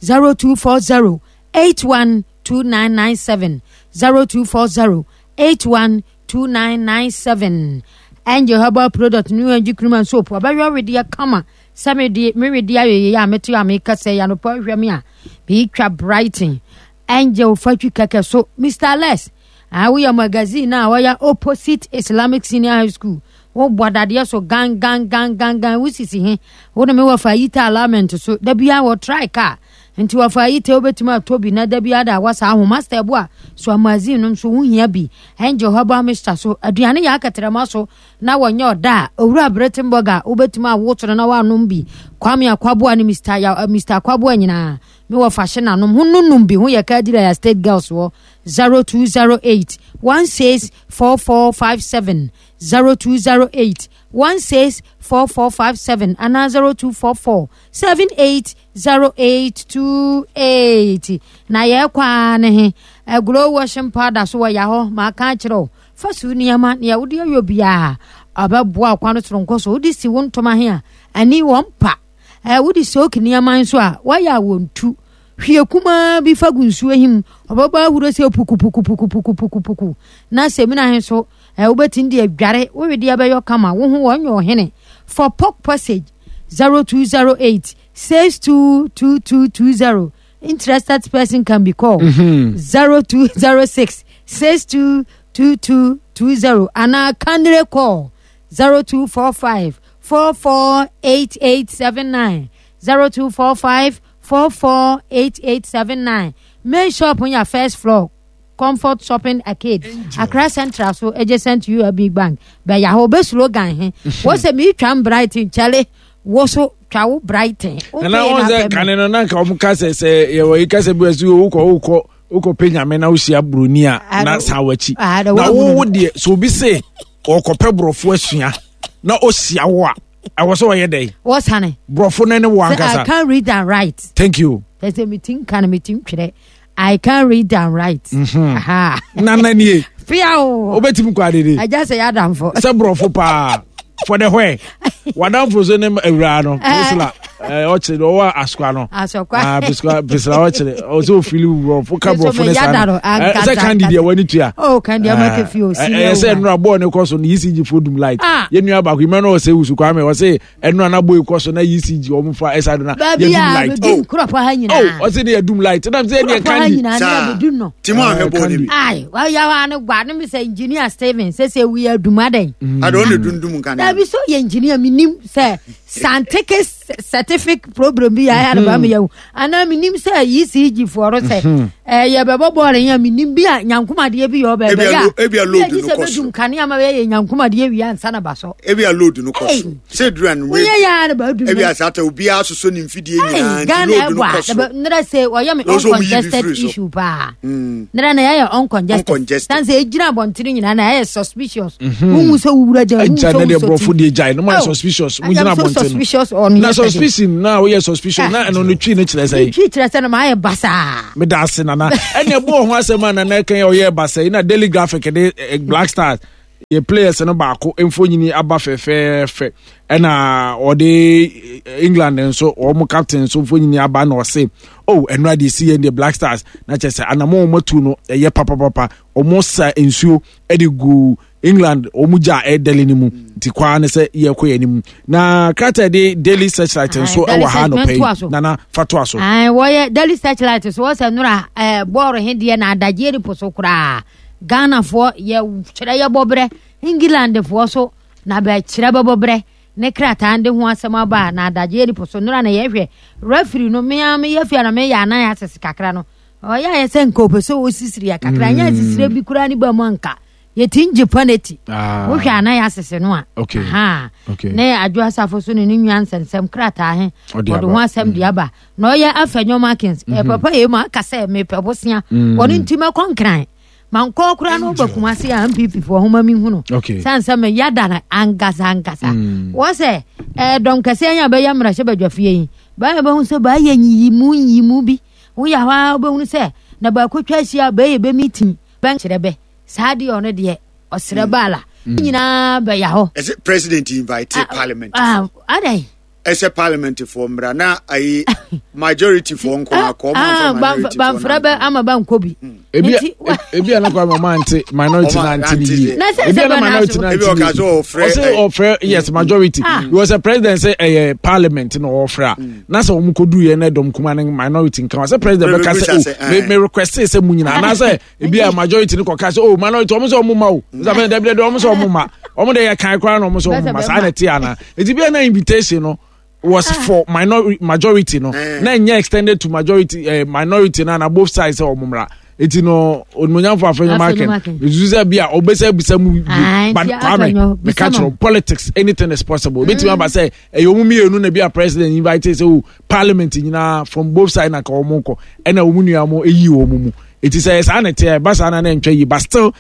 zero two four zero eight one two nine nine seven, zero two four zero eight one two nine nine seven. Angel Herbal Product, New Angel Cream and Soap ɔbɛyɛ ɔwedeɛ kama sɛ mede mewedeɛ ayɛyɛ a mete a meka sɛ yɛanɔpa hwɛ me a meetwa brighton Angel fatwi kɛkɛ so. Mister Les a woyɛ magazine a wɔyɛ opposite Islamic Senior High School, wobɔ dadeɛ so gan gan gan gan gan, wosisi he wo ne me wɔfa yita alignment so da bia wɔ try car nti wɔfa yita wobɛtumi atɔ bi na da bia da wasa aho master bo a so magazine no nso wohia bi. Angel Herbal Mixture so aduane yɛ akɛtrɛma so na wɔnyɛ ɔda a Owura Bretenburger wobɛtumi awoto no na woanom bi. Kwame Akwaboa ne Mister Ya, Mister Akwaboa nyinaa me wɔ fa hye nanom ho nonum bi ho yɛ kadira ya State Girls wɔ zero two zero eight one six four four five seven, zero two zero eight one six four four five seven anaa zero two four four seven eight zero eight two eight. Na yɛkɔ a ne he aguro washing powder so wɔ yɛ hɔ maaka akyerɛ wo fa so nneɛma nea wode ayɔ biara ɔbɛboa kwan no soronko so wode si wo ntoma he a ani wɔn pa ɛɛ wode soak nneɛma nso a wɔyɛ a wɔntu hwie kumaa bi fa gu nsuo him ɔbɛbɔ ahuro sɛ pukupukupukupukupuku na sɛmina he so ɛɛ wobɛtumi de adware wowedeɛ bɛyɔ kama wo ho wɔnyɛ ɔhene. For Pork Passage, zero two zero eight six two two two two zero. Interested person can be called zero two zero six six two two two two zero anaa kindly call zero two four five four four eight eight seven nine, zero two four five four four eight eight seven nine. Main shop on your first floor, Comfort Shopping Arcade, Accra Central so adjacent to U B Bank bɛyɛ hɔ bɛ slogan he wọ́n sɛ mi twa Brighton kyɛlɛ wọ́n so twa wo Brighton.
Nana wɔn sɛ kane no na nka wɔn ka sɛ sɛ yɛwɔ yi kasa bi wɔ so wokɔ wokɔ wokɔ pɛ Nyame na wohyia buroni a na san w'akyi na wo wo deɛ sɛ obi se ɔkɔpɛ borɔfo asua na ɔhyia wo a ɛwɔ sɛ ɔyɛ dɛ.
Wɔsane.
Borɔfo no ne wo ankasa.
I can read and write.
Thank you.
Sɛ mi ti nka no mi ti ntwerɛ, I can read and write.
Mm-hmm. Nana nie.
Fia o.
Wobɛtumi kɔ adede.
Agya sɛ yɛ adamfo.
Sɛ borɔfo paa for the where wadamfo so ne awuraa no Priscilla ɔkyerɛ ɔwɔ Asokwa no.
Asokwa.
Priscilla Priscilla ɔkyerɛ ɔsɛ ofili borɔfo ka borɔfo ne saa no sɛ Kandi deɛ wani tua.
Oh, Kandi ama kefi o si.
Ɛyɛ sɛ nnura bɔɔl ne kɔ so no E C G fo dum light. Yɛn nua baako imɛ no ɔsɛ wusu Kwame ɔsɛ ɛnura na bɔɔl kɔ so na E C G wɔn fa ɛsa do na yɛ dum light.
Baabi a kurɔpɔ ha nyinaa.
Oh, ɔsɛ ne yɛ dum light ɛnam sɛ ɛdeɛ Kandi.
Saa
timu ahwɛ bɔɔl ne bi.
Ayi waya wa ne gba ne mi sɛ Engineer Steven sɛ sɛ wi adum adan.
Adi o ne dundum nkan.
Dabi so yɛ engineer mi nim sɛ scientific certificate problem bi yɛ ayɛ ba mi yɛ o anaa mi nim sɛ E C G foɔ no sɛ Eh, yɛbɛbɔ bɔɔl yɛ menim bi a nyankomadeɛ bi yɛ ɔbɛɛbɛ
Ebi a
yɛ
lo- ebi a load
a
no
sɛ
kɔ
bɛdum
soro.
kanea ma bɛyɛ nyankomadeɛ wie ansa na ba so.
Ebi a load no kɔ
Ei.
soro sɛ duru anumere
Woyɛ yɛ a na baadum.
Ebi a saa ta obiara soso ne mfidie nyinaa
Ei,
nti
Ghana
load no
ɛbɔ
kɔ
a
soro.
nnrɛ sɛ ɔyɛ me
Na ɔsɛ ɔmo yi bi
uncongested
firi so.
issue paa. Nnrɛ na yɛyɛ uncongested.
Uncongested.
Tan sɛ ɛgyina abɔntene nyinaa na ɛyɛ suspicious. Wohu sɛ wowura gya, wohu
Agya
sɛ
ne deɛ
wosɔ
borɔfo
ti.
deɛ gyae no ma yɛ
Oh,
suspicious.
I
Mo gyina
am so
abɔnten no
suspicious on
na
yesterday.
Suspicion na woyɛ suspicion na ɛno no twi no kyerɛ sɛ
Twi kyerɛ sɛ no maayɛ basaa.
Meda ase, Nana. Ɛne ɛbɔ ho asɛm a Nana ɛka yɛ ɔyɛ basa yi na Daily Graphic de eh, Black Stars yɛ players no baako mfonyini aba fɛfɛɛfɛ, ɛna ɔde eh, England nso wɔn captain nso mfonyini aba, na ɔse oh, ɛno adeɛ si yɛn deɛ Black Stars na kyerɛ sɛ anamɔ wɔn atu no ɛyɛ papapapa. Wɔn sa nsuo ɛde gu England wɔn gya a ɛdɛli no mu, nti kwaa ne sɛ yɛkɔ yɛn anim. Na krataa de Daily Searchlight nso
Aye, Daily
ɛwɔ ha
Search-
anɔpɛ
mɛntoa so.
yi. Nana, fa toa so.
Ae, wɔyɛ Daily Searchlight so wɔsɛ nnora ɛɛ bɔɔlo he deɛ na adagyeɛ ni po so koraa. Ghanafoɔ yɛ kyerɛ yɛbɔ berɛ, Englandfoɔ so na bɛkyerɛ bɛbɔ berɛ ne krataa de ho asɛm aba a na adagyeɛ ni po so nnora na yɛhwɛ referee no. Mea meyɛ fia na meyɛ anan asese kakra no, ɔyɛ ayɛ sɛ nka ɔpɛ sɛ ɔsisiri yɛ kakra, nyɛ asisire bi koraa ne ba mu anka yɛti ngye penalty.
Ah.
Wohwɛ anan asese no a,
Okay.
aha.
Okay.
Ne Adwo Asafo so ne ne nua nsɛnsɛm krataa he
Ɔde
ɔde
aba.
ho asɛm de aba na ɔyɛ Afenyo Markins ɛ papa yɛ mu aka sɛ mepɛ bosea ɔno nti mɛkɔ Nkran mankɔ koraa no woba Kumase a N P P foɔ homa mehu no.
Okay.
Sane sɛ meyada no ankasa ankasa wɔ sɛ eh, dɔm kɛseɛ yɛ a bɛyɛ mmarahyɛ badwafie yi bɛyɛ bɛhu sɛ bɛayɛ nyiyimu nyiyimu bi woyɛ hɔ a wobɛhunu sɛ na baakɔtwa ahyia a bɛyɛ bɛ meeting bɛnkyerɛ bɛ saa deɛ ɔno deɛ ɔserɛ baala nyinaa bɛyɛ hɔ.
Ɛsɛ president invite parliament.
Ah, adɛn?
Ɛsɛ parliament foɔ mmra na ayi majority foɔ nko akɔ ɔmo
Ah,
anfa minority foɔ
bamfrɛ bɛ ama bankɔ bi.
Ebi
Nti-
ebi a na kwa ma ante minority
Ɔma
na ante ne
ante
yie.
Na sɛ
Ebi
sɛ
a na
bɛ na
minority
so-
na
Ebi
ante ne
ɔka
yie.
sɛ ɔfrɛ
Ɔsɛ
ɛ-
ɔfrɛ, yes, majority.
Ah.
Because sɛ president sɛ ɛyɛ parliament na ɔfrɛ a, na sɛ wɔn kɔ du yɛ na dɔm kuma ne minority nka wa sɛ president bɛka
Bɛ-
sɛ
bɛ-
oh, me
eh.
me request sɛ mu nyinaa anaasɛ ebi a majority ne kɔ ka sɛ oh, minority wɔn sɛ wɔn ma o sɛ afɛn dɛbi dɛbi wɔn sɛ wɔn ma wɔn de yɛ kan koraa na wɔn sɛ wɔn ma saa na ɛte ana. Eti bi a na invitation no was for minority majority no
Eh.
na nyɛ extended to majority eh, minority na na both sides sɛ wɔn mmra. Eti no onimonyamfo Afenyo
Afenyo
Markin
Markin.
esusu sɛ bi a ɔbɛsɛ bisa mu bi.
Aye,
But
nti
Kwame
Afenyo,
meka
bisa
kyerɛ
ma.
wo, politics, anything is possible. Obetumi aba sɛ ɛyɛ ɔmu mmienu na bi a president invite sɛ o parliament nyinaa from both sides na ka wɔn kɔ, ɛna wɔn nua mo eyi wɔn mu. Eti sɛ saa na ɛteɛ ɛba saa na na ntwa yi, but still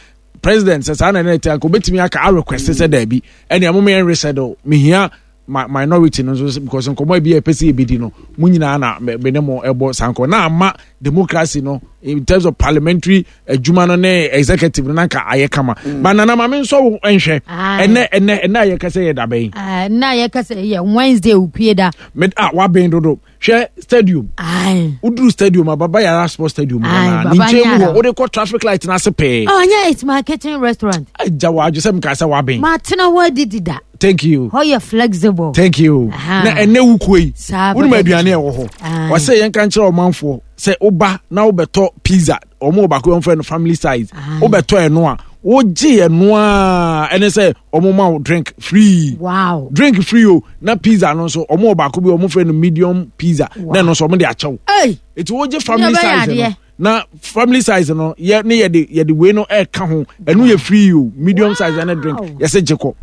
president sɛ saa na na ɛteɛ nka obetumi aka a request sɛ daabi, ɛnna ɛmo yɛn reschedule, mihia ma minority no nso, because nkɔmɔ bi a ɛpɛ sɛ yɛbɛdi no mo nyinaa na me me ne mo ɛbɔ saa nkɔmɔ na ama democracy no in terms of parliamentary adwuma no ne executive no na nka ayɛ kama. Ba Nana, maame nso wo nhwɛ.
Aye.
ɛnɛ ɛnɛ ɛnɛ a yɛka sɛ yɛ daba yi.
Ah, na yɛka sɛ yɛ Wednesday opie da.
Me a wabɛn dodo, hwɛ stadium.
Aye.
Woduru stadium a, Baba Yara Sports Stadium hɔ
Aye,
naa ne
Baba
nkyɛn mu
Yara.
hɔ wode kɔ traffic light no ase pɛɛ.
Oh, nyɛ It's My Kitchen restaurant.
Agya wɔ adwo sɛ meka sɛ wabɛn.
Matena hɔ adidi da.
Thank you.
Hɔ yɛ flexible.
Thank you.
Aha.
Na ɛnɛ wukuo yi
Saa
wonim
pɛpɛ.
aduane a ɛwɔ hɔ.
Aye.
Ɔsɛ yɛnka nkyerɛ ɔmanfoɔ sɛ woba na wobɛtɔ pizza, ɔmo wɔ baako yɛmfrɛ no family size.
Aye.
Wobɛtɔ ɛno a wogye ɛno a ɛne sɛ ɔmo ma wo drink free.
Wow.
Drink free o. Na pizza no nso ɔmo wɔ baako bi ɔmo frɛ no medium pizza.
Wow.
Na ɛno nso ɔmo de akyɛw.
Hey!
Eti wogye family
Ne ɔbɛyɛ
size no
adeɛ.
Na family size no yɛ ne yɛde yɛde wei no ɛka ho, ɛno yɛ free o. Medium size ɛne drink yɛsɛ gye kɔ.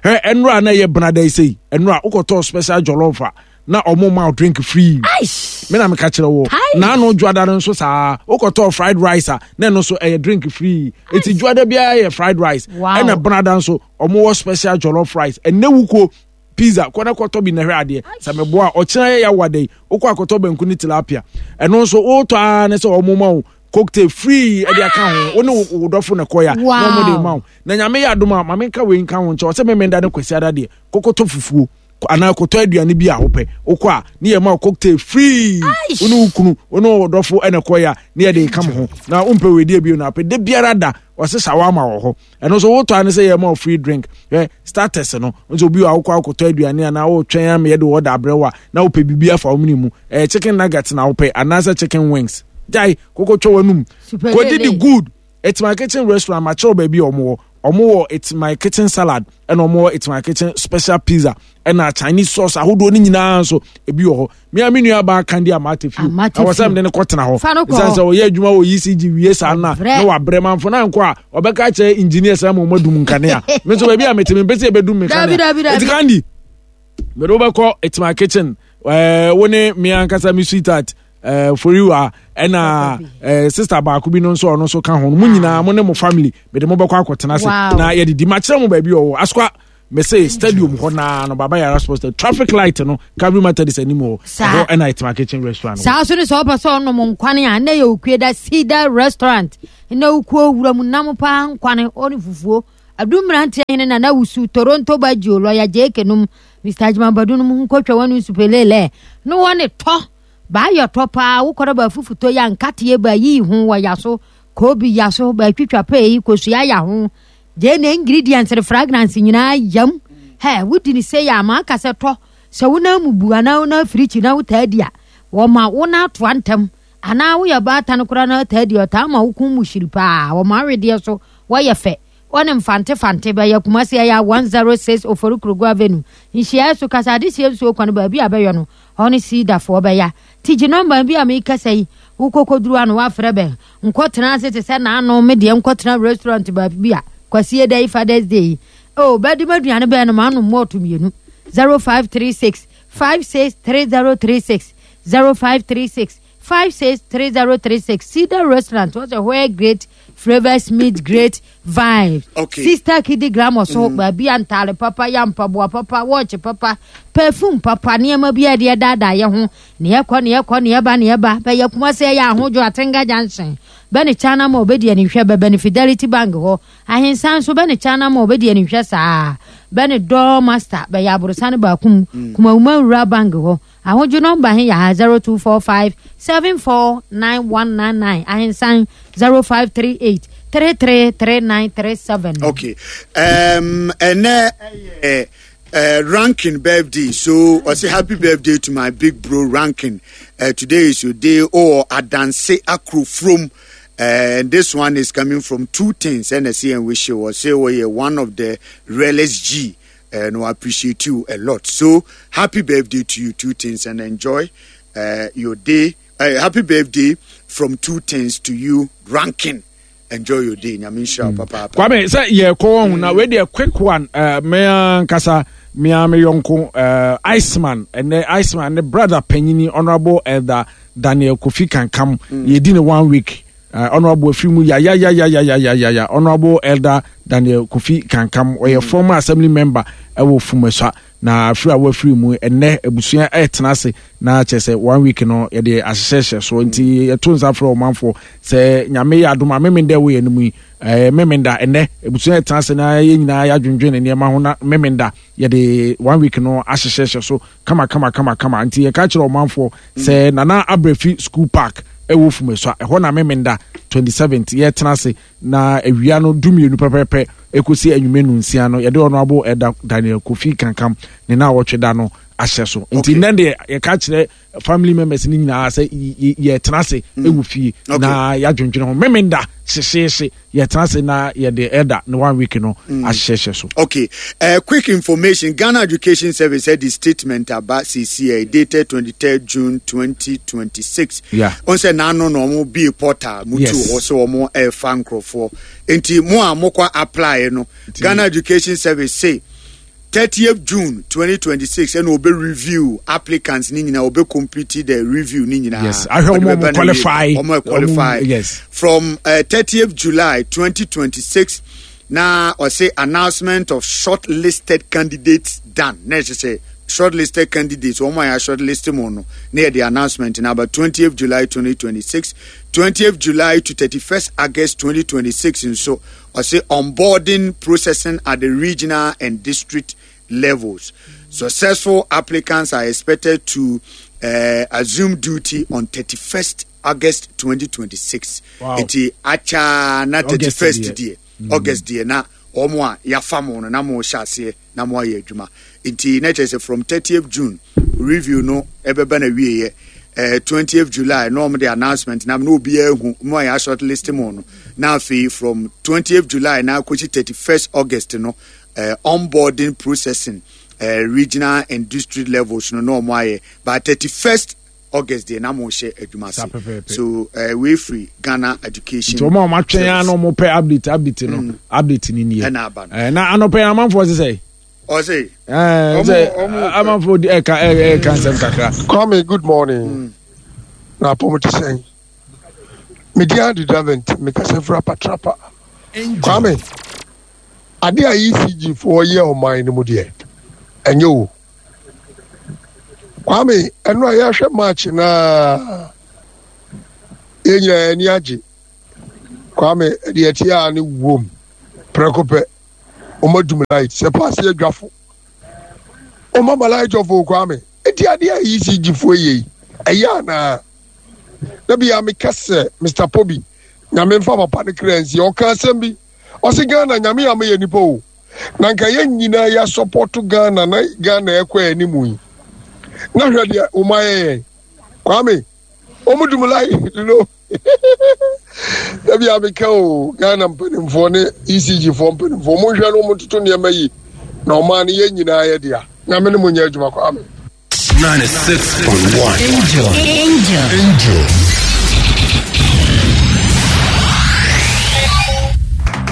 Hɛ, ɛnura na yɛ benada yi sɛyi, ɛnura wokɔtɔ special jollof a na ɔmo ma wo drink free.
Aish!
Me na meka kyerɛ wo.
Kai.
Na ano dwada no nso saa, wokɔtɔ fried rice a na ɛno nso ɛyɛ drink free. Eti dwada biara yɛ fried rice.
Wow.
Ɛna benada nso ɔmo wɔ special jollof rice. Ɛnɛ wukuo pizza kɔ na kɔtɔ bi na hwɛ adeɛ sɛ meboa a ɔkyena yɛ yɛawa yi wokɔ akɔtɔ banku ne tilapia, ɛno nso wotɔ ara ne sɛ ɔmo ma wo cocktail free ɛde aka ho. Wo ne wo wo dɔfo na kɔya na ɔmo de ma wo. Na Nyame yɛ adom a, maame nka wei nka ho nkyɛn, ɔsɛ memenda ne Kwasi ada deɛ kɔkɔtɔ fufuo anaa kɔtɔ aduane bi a wopɛ, wokɔ a ne yɛ ma wo cocktail free. Wo ne wo kunu, wo ne wo dɔfo ɛna kɔya ne yɛde ka mo ho. Na wompɛ weidie bio na apɛ da biara da ɔsɛ shawarma wɔ hɔ, ɛno nso wotɔ a ne sɛ yɛ ma wo free drink. Hwɛ starters no nso, obi a wokɔ akɔtɔ aduane anaa wotwɛn ama yɛde wɔ da abrɛ wo a na wopɛ biribi afa wo mene mu, ɛyɛ chicken nugget na wopɛ anaasɛ chicken wings, gyae kokotwa w'anum.
Super
kɔdi
lele.
The good It's My Kitchen restaurant makyerɛw baabi a ɔmo wɔ. Ɔmo wɔ It's My Kitchen salad, ɛna ɔmo wɔ It's My Kitchen special pizza, ɛna Chinese sauce ahodoɔ no nyinaa nso ebi wɔ hɔ. Mea me nua baa Kandi Amate Fiw, ɛwɔ sɛ mede ne kɔtena hɔ ɛsiane sɛ ɔyɛ adwuma wɔ E C G wie saa no a na wabrɛ manfo na nkɔ a ɔbɛka kyerɛ engineer sɛ ma ɔmadum nkanea. Me nso baabi a mete, mempɛ sɛ yɛbɛdum me kanea. Ɛti Kandi, mede wobɛkɔ It's My Kitchen, ɛɛ wo ne me ankasa me sweetheart ɛɛ Foriwa, ɛna ɛɛ sister baako bi no nso, ɔno nso ka ho no. Mo nyinaa, mo ne mo family, mede mo bɛkɔ akɔtena ase na yɛdidi. Makyerɛ mo baabi ɔwɔ Asokwa, mese stadium hɔ naa no, Baba Yara Sports, traffic light no, Calvary Methodist anim hɔ, ɛhɔ ɛna It's My Kitchen restaurant.
Saa so ne sɛ wopɛ sɛ ɔnom nkwane a, na yɛ Okue da Cedar Restaurant na wokuo wura mu nam paa, nkwane ɔne fufuo adu. Mmeranteɛ hene na na wusu Toronto Bagio lɔya Jeke nom, Mister Agyeman-Badu nom, nkotwa wɔne nsupelele ne wɔne tɔ baayɛ tɔ paa. Wokɔrɔ ba fufuto yɛ nkateɛ ba yiyi ho wɔ ya so, koobi ya so, baatwitwa pɛɛ yi kosua ya ho, gye ne ingredients ne fragrance nyinaa yam. Hɛ, wodi ne sɛ yɛ ama aka sɛ tɔ sɛ wona mu bu anaa wona firikyi na wotaa di a, wɔma wona atoa ntɛm, anaa woyɛ baatan koraa na taa di, ɔtaa ma wo mu hyiri paa. Wɔma awedeɛ so wɔyɛ fɛ, wɔne mfante fante bɛyɛ. Kumase ɛyɛ one zero six Ofori Kurogo Avenue, nhyiaeɛ so kasa adehyɛ nsuo kwan baabi a bɛyɛ no hɔ ne siidafoɔ bɛya. Tigye nɔmba bi a mekasa yi, wokɔkɔduru ano woafrɛ bɛn. Nkɔtena ase te sɛ naano me deɛ, nkɔtena restaurant baabi bi a Kwasie da yi, Fathers Day yi o, bɛde ma aduane bɛn no ma anom mɔɔto mmienu. zero five three six five six three zero three six, zero five three six five six three zero three six. Cedar Restaurant what's a where great flavors meet great vibes.
Okay.
Sister Kidi Grammar so mm. baabi a ntaare papa, yɛ mpaboa papa, watch papa, perfume papa, nneɛma bi a yɛde daadaa yɛ ho ne yɛkɔ ne yɛkɔ ne yɛba ne yɛba bɛyɛ. Kumase yɛ Ahodwo Atenga Junction, bɛne China ma obɛdi anihwɛ, bɛbɛ ne Fidelity Bank hɔ. Ahensan nso bɛne China ma obɛdi anihwɛ saa, bɛne Door Master, bɛyɛ aborosane baako mu mm. Kumawuma Wura Bank hɔ. Ahodwo nɔmba he yɛ ha zero two four five seven four nine one nine nine, Ahensan zero five three eight three three three nine three seven.
Okay, um, ɛnɛ uh, uh, Rankin birthday, so I say happy birthday to my big bro Rankin. Uh, today is your day. Oh, Adanse Akrofrom. Uh, and this one is coming from two things. And I see and wish you was say, oh, yeah, one of the realest G. And I appreciate you a lot. So happy birthday to you, two things, and enjoy uh, your day. Uh, happy birthday from two things to you, Rankin. Enjoy your day. Nyame nhyira wo papaapa.
Kwame, sɛ yɛkɔ wɔn ho na wei deɛ, quick one. uh, mea nkasa mea me yɔnko uh, Iceman, ɛnɛ Iceman ne brother panyini, Honorable Elder Daniel Kofi Kankam mm. yɛdi ne one week. uh, honorable afiri mu yayayayayayaya. Honorable Elder Daniel Kofi Kankam, ɔyɛ mm. former assembly member ɛwɔ Fumasua, na afiri a wafiri mu, ɛnɛ abusua ɛtena ase na kyerɛ sɛ one week no yɛde ahyehyɛhyɛ so. Nti yɛto nsa frɛ ɔmanfoɔ sɛ Nyame yɛ adom a, Memenda wɔ yɛn mu yi, ɛɛ Memenda ɛnɛ abusua ɛtena ase na yɛn nyinaa yɛadwendwen ne nneɛma ho, na Memenda yɛde one week no ahyehyɛhyɛ so kama kama kama kama. Nti yɛka kyerɛ ɔmanfoɔ sɛ Nana Abrɛfi School Park ɛwɔ Fumasua ɛhɔ na Memenda twenty seventh yɛtena ase, na awia no dumienu pɛpɛpɛ ekosi anwumɛ nu nsia no, yɛde Honorable Elder Daniel Kofi Kankam ne na awɔtwe da no ahyɛ so. Nti nnɛ deɛ, yɛka kyerɛ family members ni nyinaa sɛ yɛtena ase ɛwɔ fie na yɛadwendwene ho. Memenda hyehyeehye yɛtena ase na yɛde ɛda ne one week no ahyehyɛ so.
Okay, uh, quick information. Ghana Education Service had the statement about C C A dated twenty-third June twenty twenty-six.
Yeah.
On say na no no mo be portal mutu
Yes.
hɔ sɛ ɔmo ɛfa nkurɔfoɔ. Nti mo a mokɔ apply no, Ghana Education Service say thirtieth June twenty twenty-six ɛna obe review applicants ni nyinaa, obe complete the review ni nyinaa.
Yes, ahwɛ
Ɔde
ɔmo a
bɛba
ɔmo
na wie.
qualify.
Ɔmo a qualify.
Ɔmo- yes.
From uh, thirtieth July twenty twenty-six na ɔsɛ announcement of shortlisted candidates done, na ɛkyɛ sɛ shortlisted candidates, wɔn a yɛ shortlist mu no, na yɛde announcement na aba twentieth July twenty twenty-six. twentieth July to thirty-first August twenty twenty-six nso, ɔsɛ onboarding processing at the regional and district levels. Successful applicants are expected to uh, assume duty on thirty-first August twenty twenty-six.
Wow.
Nti akyaa na
August
thirty-first
deɛ.
deɛ, August deɛ, na wɔn a yɛafa mo no na mo hyɛ aseɛ na mo ayɛ adwuma. Nti na kyerɛ sɛ from thirtieth June review no ɛbɛba na wieɛ. eh, twentieth July na ɔmo de announcement na na obiara ehu mo a yɛ short list mo no. Na afei from twentieth July na akɔsi thirty-first August no, eh, onboarding processing, eh, regional and district levels no na ɔmo ayɛ. By thirty-first August deɛ na mo hyɛ adwuma
Saa
ase.
Pɛpɛɛpɛ.
So eh, wei firi Ghana Education
Nti ɔmo a ɔmo atwɛn a
Service.
Na ɔmo pɛ update update no, update ni nie.
Ɛna aba no.
Eh, na anɔpɛ yi amanfoɔ sɛ sɛ
Ɔse
ɛɛ
Ɔmo-
sɛ
ɔmo-
amanfoɔ di ɛka ɛ ɛka nsɛm kakra.
Kwame, good morning. Na apɔm te sɛn? Medi ade Davent, mekasa firi Apatrapa. Kwame, ade a E C G foɔ yɛ ɔman no mu deɛ, ɛnyɛ o. Kwame, ɛno a yɛahwɛ match naa, yɛn nyinaa ani agye. Kwame, deɛ ɛte a ne wom prɛko pɛ, ɔma dum light sɛ paase adwafo. Ɔma ma light off o. Kwame, eti adeɛ a E C G foɔ yɛ yi, ɛyɛ anaa? Na bia meka sɛ Mister Pobi, Nyame mfa papa no kra nsi, ɔka asɛm bi, ɔse Ghana Nyame ama yɛ nipa o, na nka yɛn nyinaa yɛ support Ghana na Ghana ɛkɔ anim yi, na hwɛ deɛ ɔma yɛ yɛn. Kwame, ɔmo dum light no na bia meka o, Ghana mpanimfoɔ ne E C G foɔ mpanimfoɔ, monhwɛ no, ɔmo ntoto nneɛma yi na ɔmaa no yɛn nyinaa yɛ dea. Nyame ne mo nyɛ adwuma, Kwame.
ninety-six point one.
Angel. Angel.
Angel.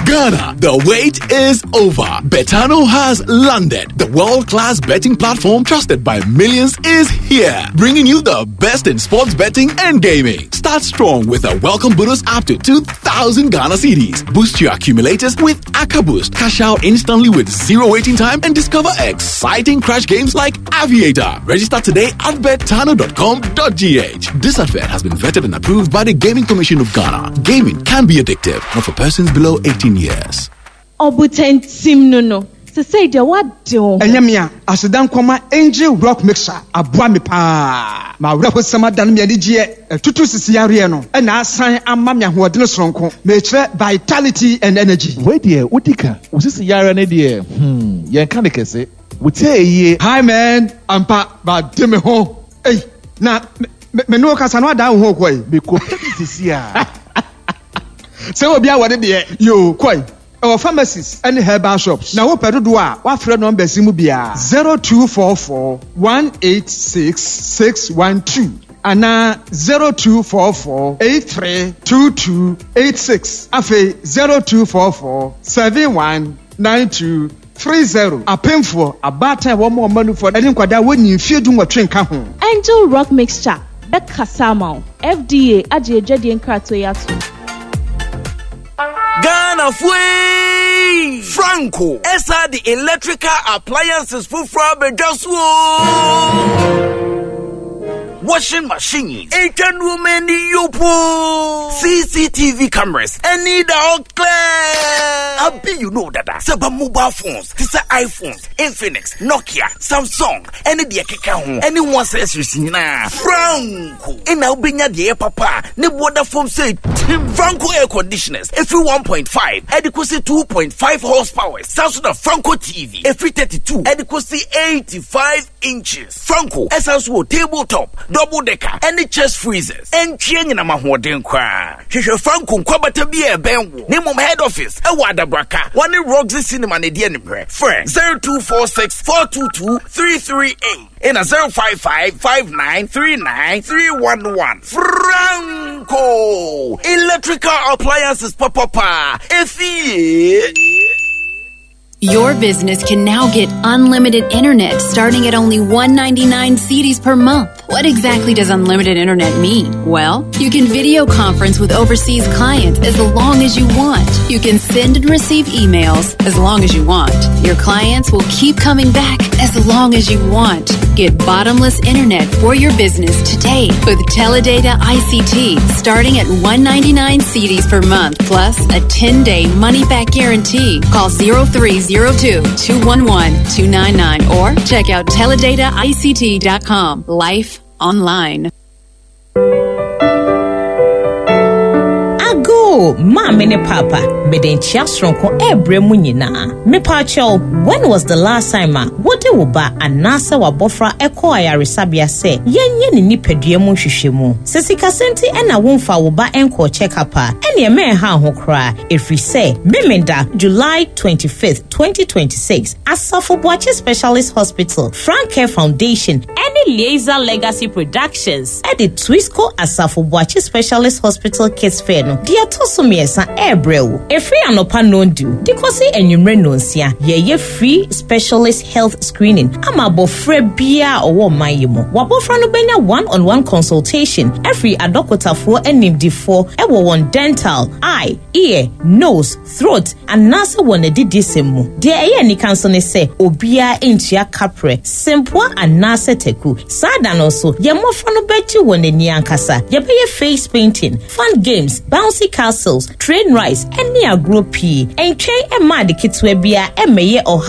Ghana, the wait is over. Betano has landed. The world-class betting platform trusted by millions is here, bringing you the best in sports betting and gaming. Start strong with a welcome bonus up to two thousand Ghana cedis. Boost your accumulators with AccaBoost. Cash out instantly with zero waiting time and discover exciting crash games like Aviator. Register today at betano dot com dot G H. This advert has been vetted and approved by the Gaming Commission of Ghana. Gaming can be addictive, not for persons below eighteen years.
Ɔbotantim no no sesei deɛ woade wo ho.
Ɛnyɛ me a aseda nkɔma Angel Rock Mixer aboa me paa ma awerɛhosɛm ada no me anigyeɛ ɛtutu sisi yareɛ no ɛna asan ama me ahoɔdene soronko, mekyerɛ vitality and energy.
Wei deɛ wodi ka wo sisi yare ne deɛ, hmm, yɛnka ne kɛse wotie yie.
Hi man, ampa bade me ho. Ei, na me me ne wo kasa no adaa wo ho kɔi.
Mekɔpɛ bi sisi a.
Sɛ obi a wɔde deɛ yo kɔi ɛwɔ pharmacies ɛne herbal shops, na wopɛ dodoɔ a wafrɛ numbers yi mu biara: zero two four four one eight six six one two anaa zero two four four eight three two two eight six, afei zero two four four seven one nine two three zero. Apemfoɔ, abaatan a wɔn a wɔn anufoɔ ɛne nkwadaa wɔnyi mfie du nwɔtwe nka ho.
Angel Rock Mixture bɛkasa ama wo. F D A agye adwadie nkratoɔ yi ato.
Ghana fue! Franco ɛsa de electrical appliances foforɔ abɛdwa so o. Washing machines, etwa nneɛma ani yopo, C C T V cameras, ɛne da hɔ clear. Abi you know dada sɛ ba mobile phones te sɛ iPhones, Infinix, Nokia, Samsung ɛne deɛ keka ho ɛne ho accessories nyinaa, Franco ɛna wobɛnya deɛ ɛyɛ papa a ne boɔda fam sɛ tim. Franco air conditioners ɛfiri one point five ɛde kɔsi two point five horsepower. Saa so na Franco T V ɛfiri thirty-two ɛde kɔsi eighty-five inches. Franco ɛsan so wɔ table top, double decker ɛne chest freezers. Ɛntwe nyinam ahoɔden koraa. Hwehwɛ Franco nkwabata bi a ɛbɛn wo ne mmom head office ɛwɔ Adabraka, wɔne Roxy Cinema ne deɛ nimrɛ. Frɛ zero two four six four two two three three eight ɛna zero five five five nine three nine three one one. Franco electrical appliances papapa efie.
Your business can now get unlimited internet starting at only one hundred ninety-nine cedis per month. What exactly does unlimited internet mean? Well, you can video conference with overseas clients as long as you want. You can send and receive emails as long as you want. Your clients will keep coming back as long as you want. Get bottomless internet for your business today with Teledata I C T starting at one hundred ninety-nine cedis per month plus a ten-day money-back guarantee. Call zero three zero two two one one two nine nine or check out teledata I C T dot com. Life online.
Ago.
Hello, maame ne papa. Mede nkyia soronko ɛrebrɛ mu nyinaa. Mepaakyɛw, when was the last time a wode wo ba anaasɛ wabɔfra ɛkɔɔ ayaresabea sɛ yɛnyɛ ne nipadua mu nhwehwɛmu? Sɛ sikasɛm nti ɛna womfa wo ba ɛnkɔɔ check-up a, ɛneɛ mɛnha ho koraa. Ɛfiri sɛ, Memenda, July twenty-fifth, twenty twenty-six, Asafo Boakye Specialist Hospital, Frank Care Foundation, ɛne Liaison Legacy Productions ɛde Twisco Asafo Boakye Specialist Hospital Kids Fair no deɛ ɛtɔ so mmiɛnsa ɛrebrɛ wo. Ɛfiri anɔpa nondu de kɔsi anwummerɛ nonsia, yɛyɛ free specialist health screening ama abɔfra biara a ɔwɔ ɔman yi mu. Wabɔfra no bɛnya one on one consultation ɛfiri adɔkotafoɔ animdifoɔ ɛwɔ wɔn dental, eye, ear, nose, throat anaasɛ wɔn adidisɛm mu. Deɛ ɛyɛ anika nso ne sɛ obiara ntua kaprɛ, sempoa anaasɛ taku. Saa da no nso, yɛn mmɔfra no bɛgye wɔn ani ankasa. Yɛbɛyɛ face painting, fun games, bouncy castles, train rides ɛne agorɔ pii. Ntwɛn ɛma ade ketewa biara ɛmmɛyɛ ɔhaw.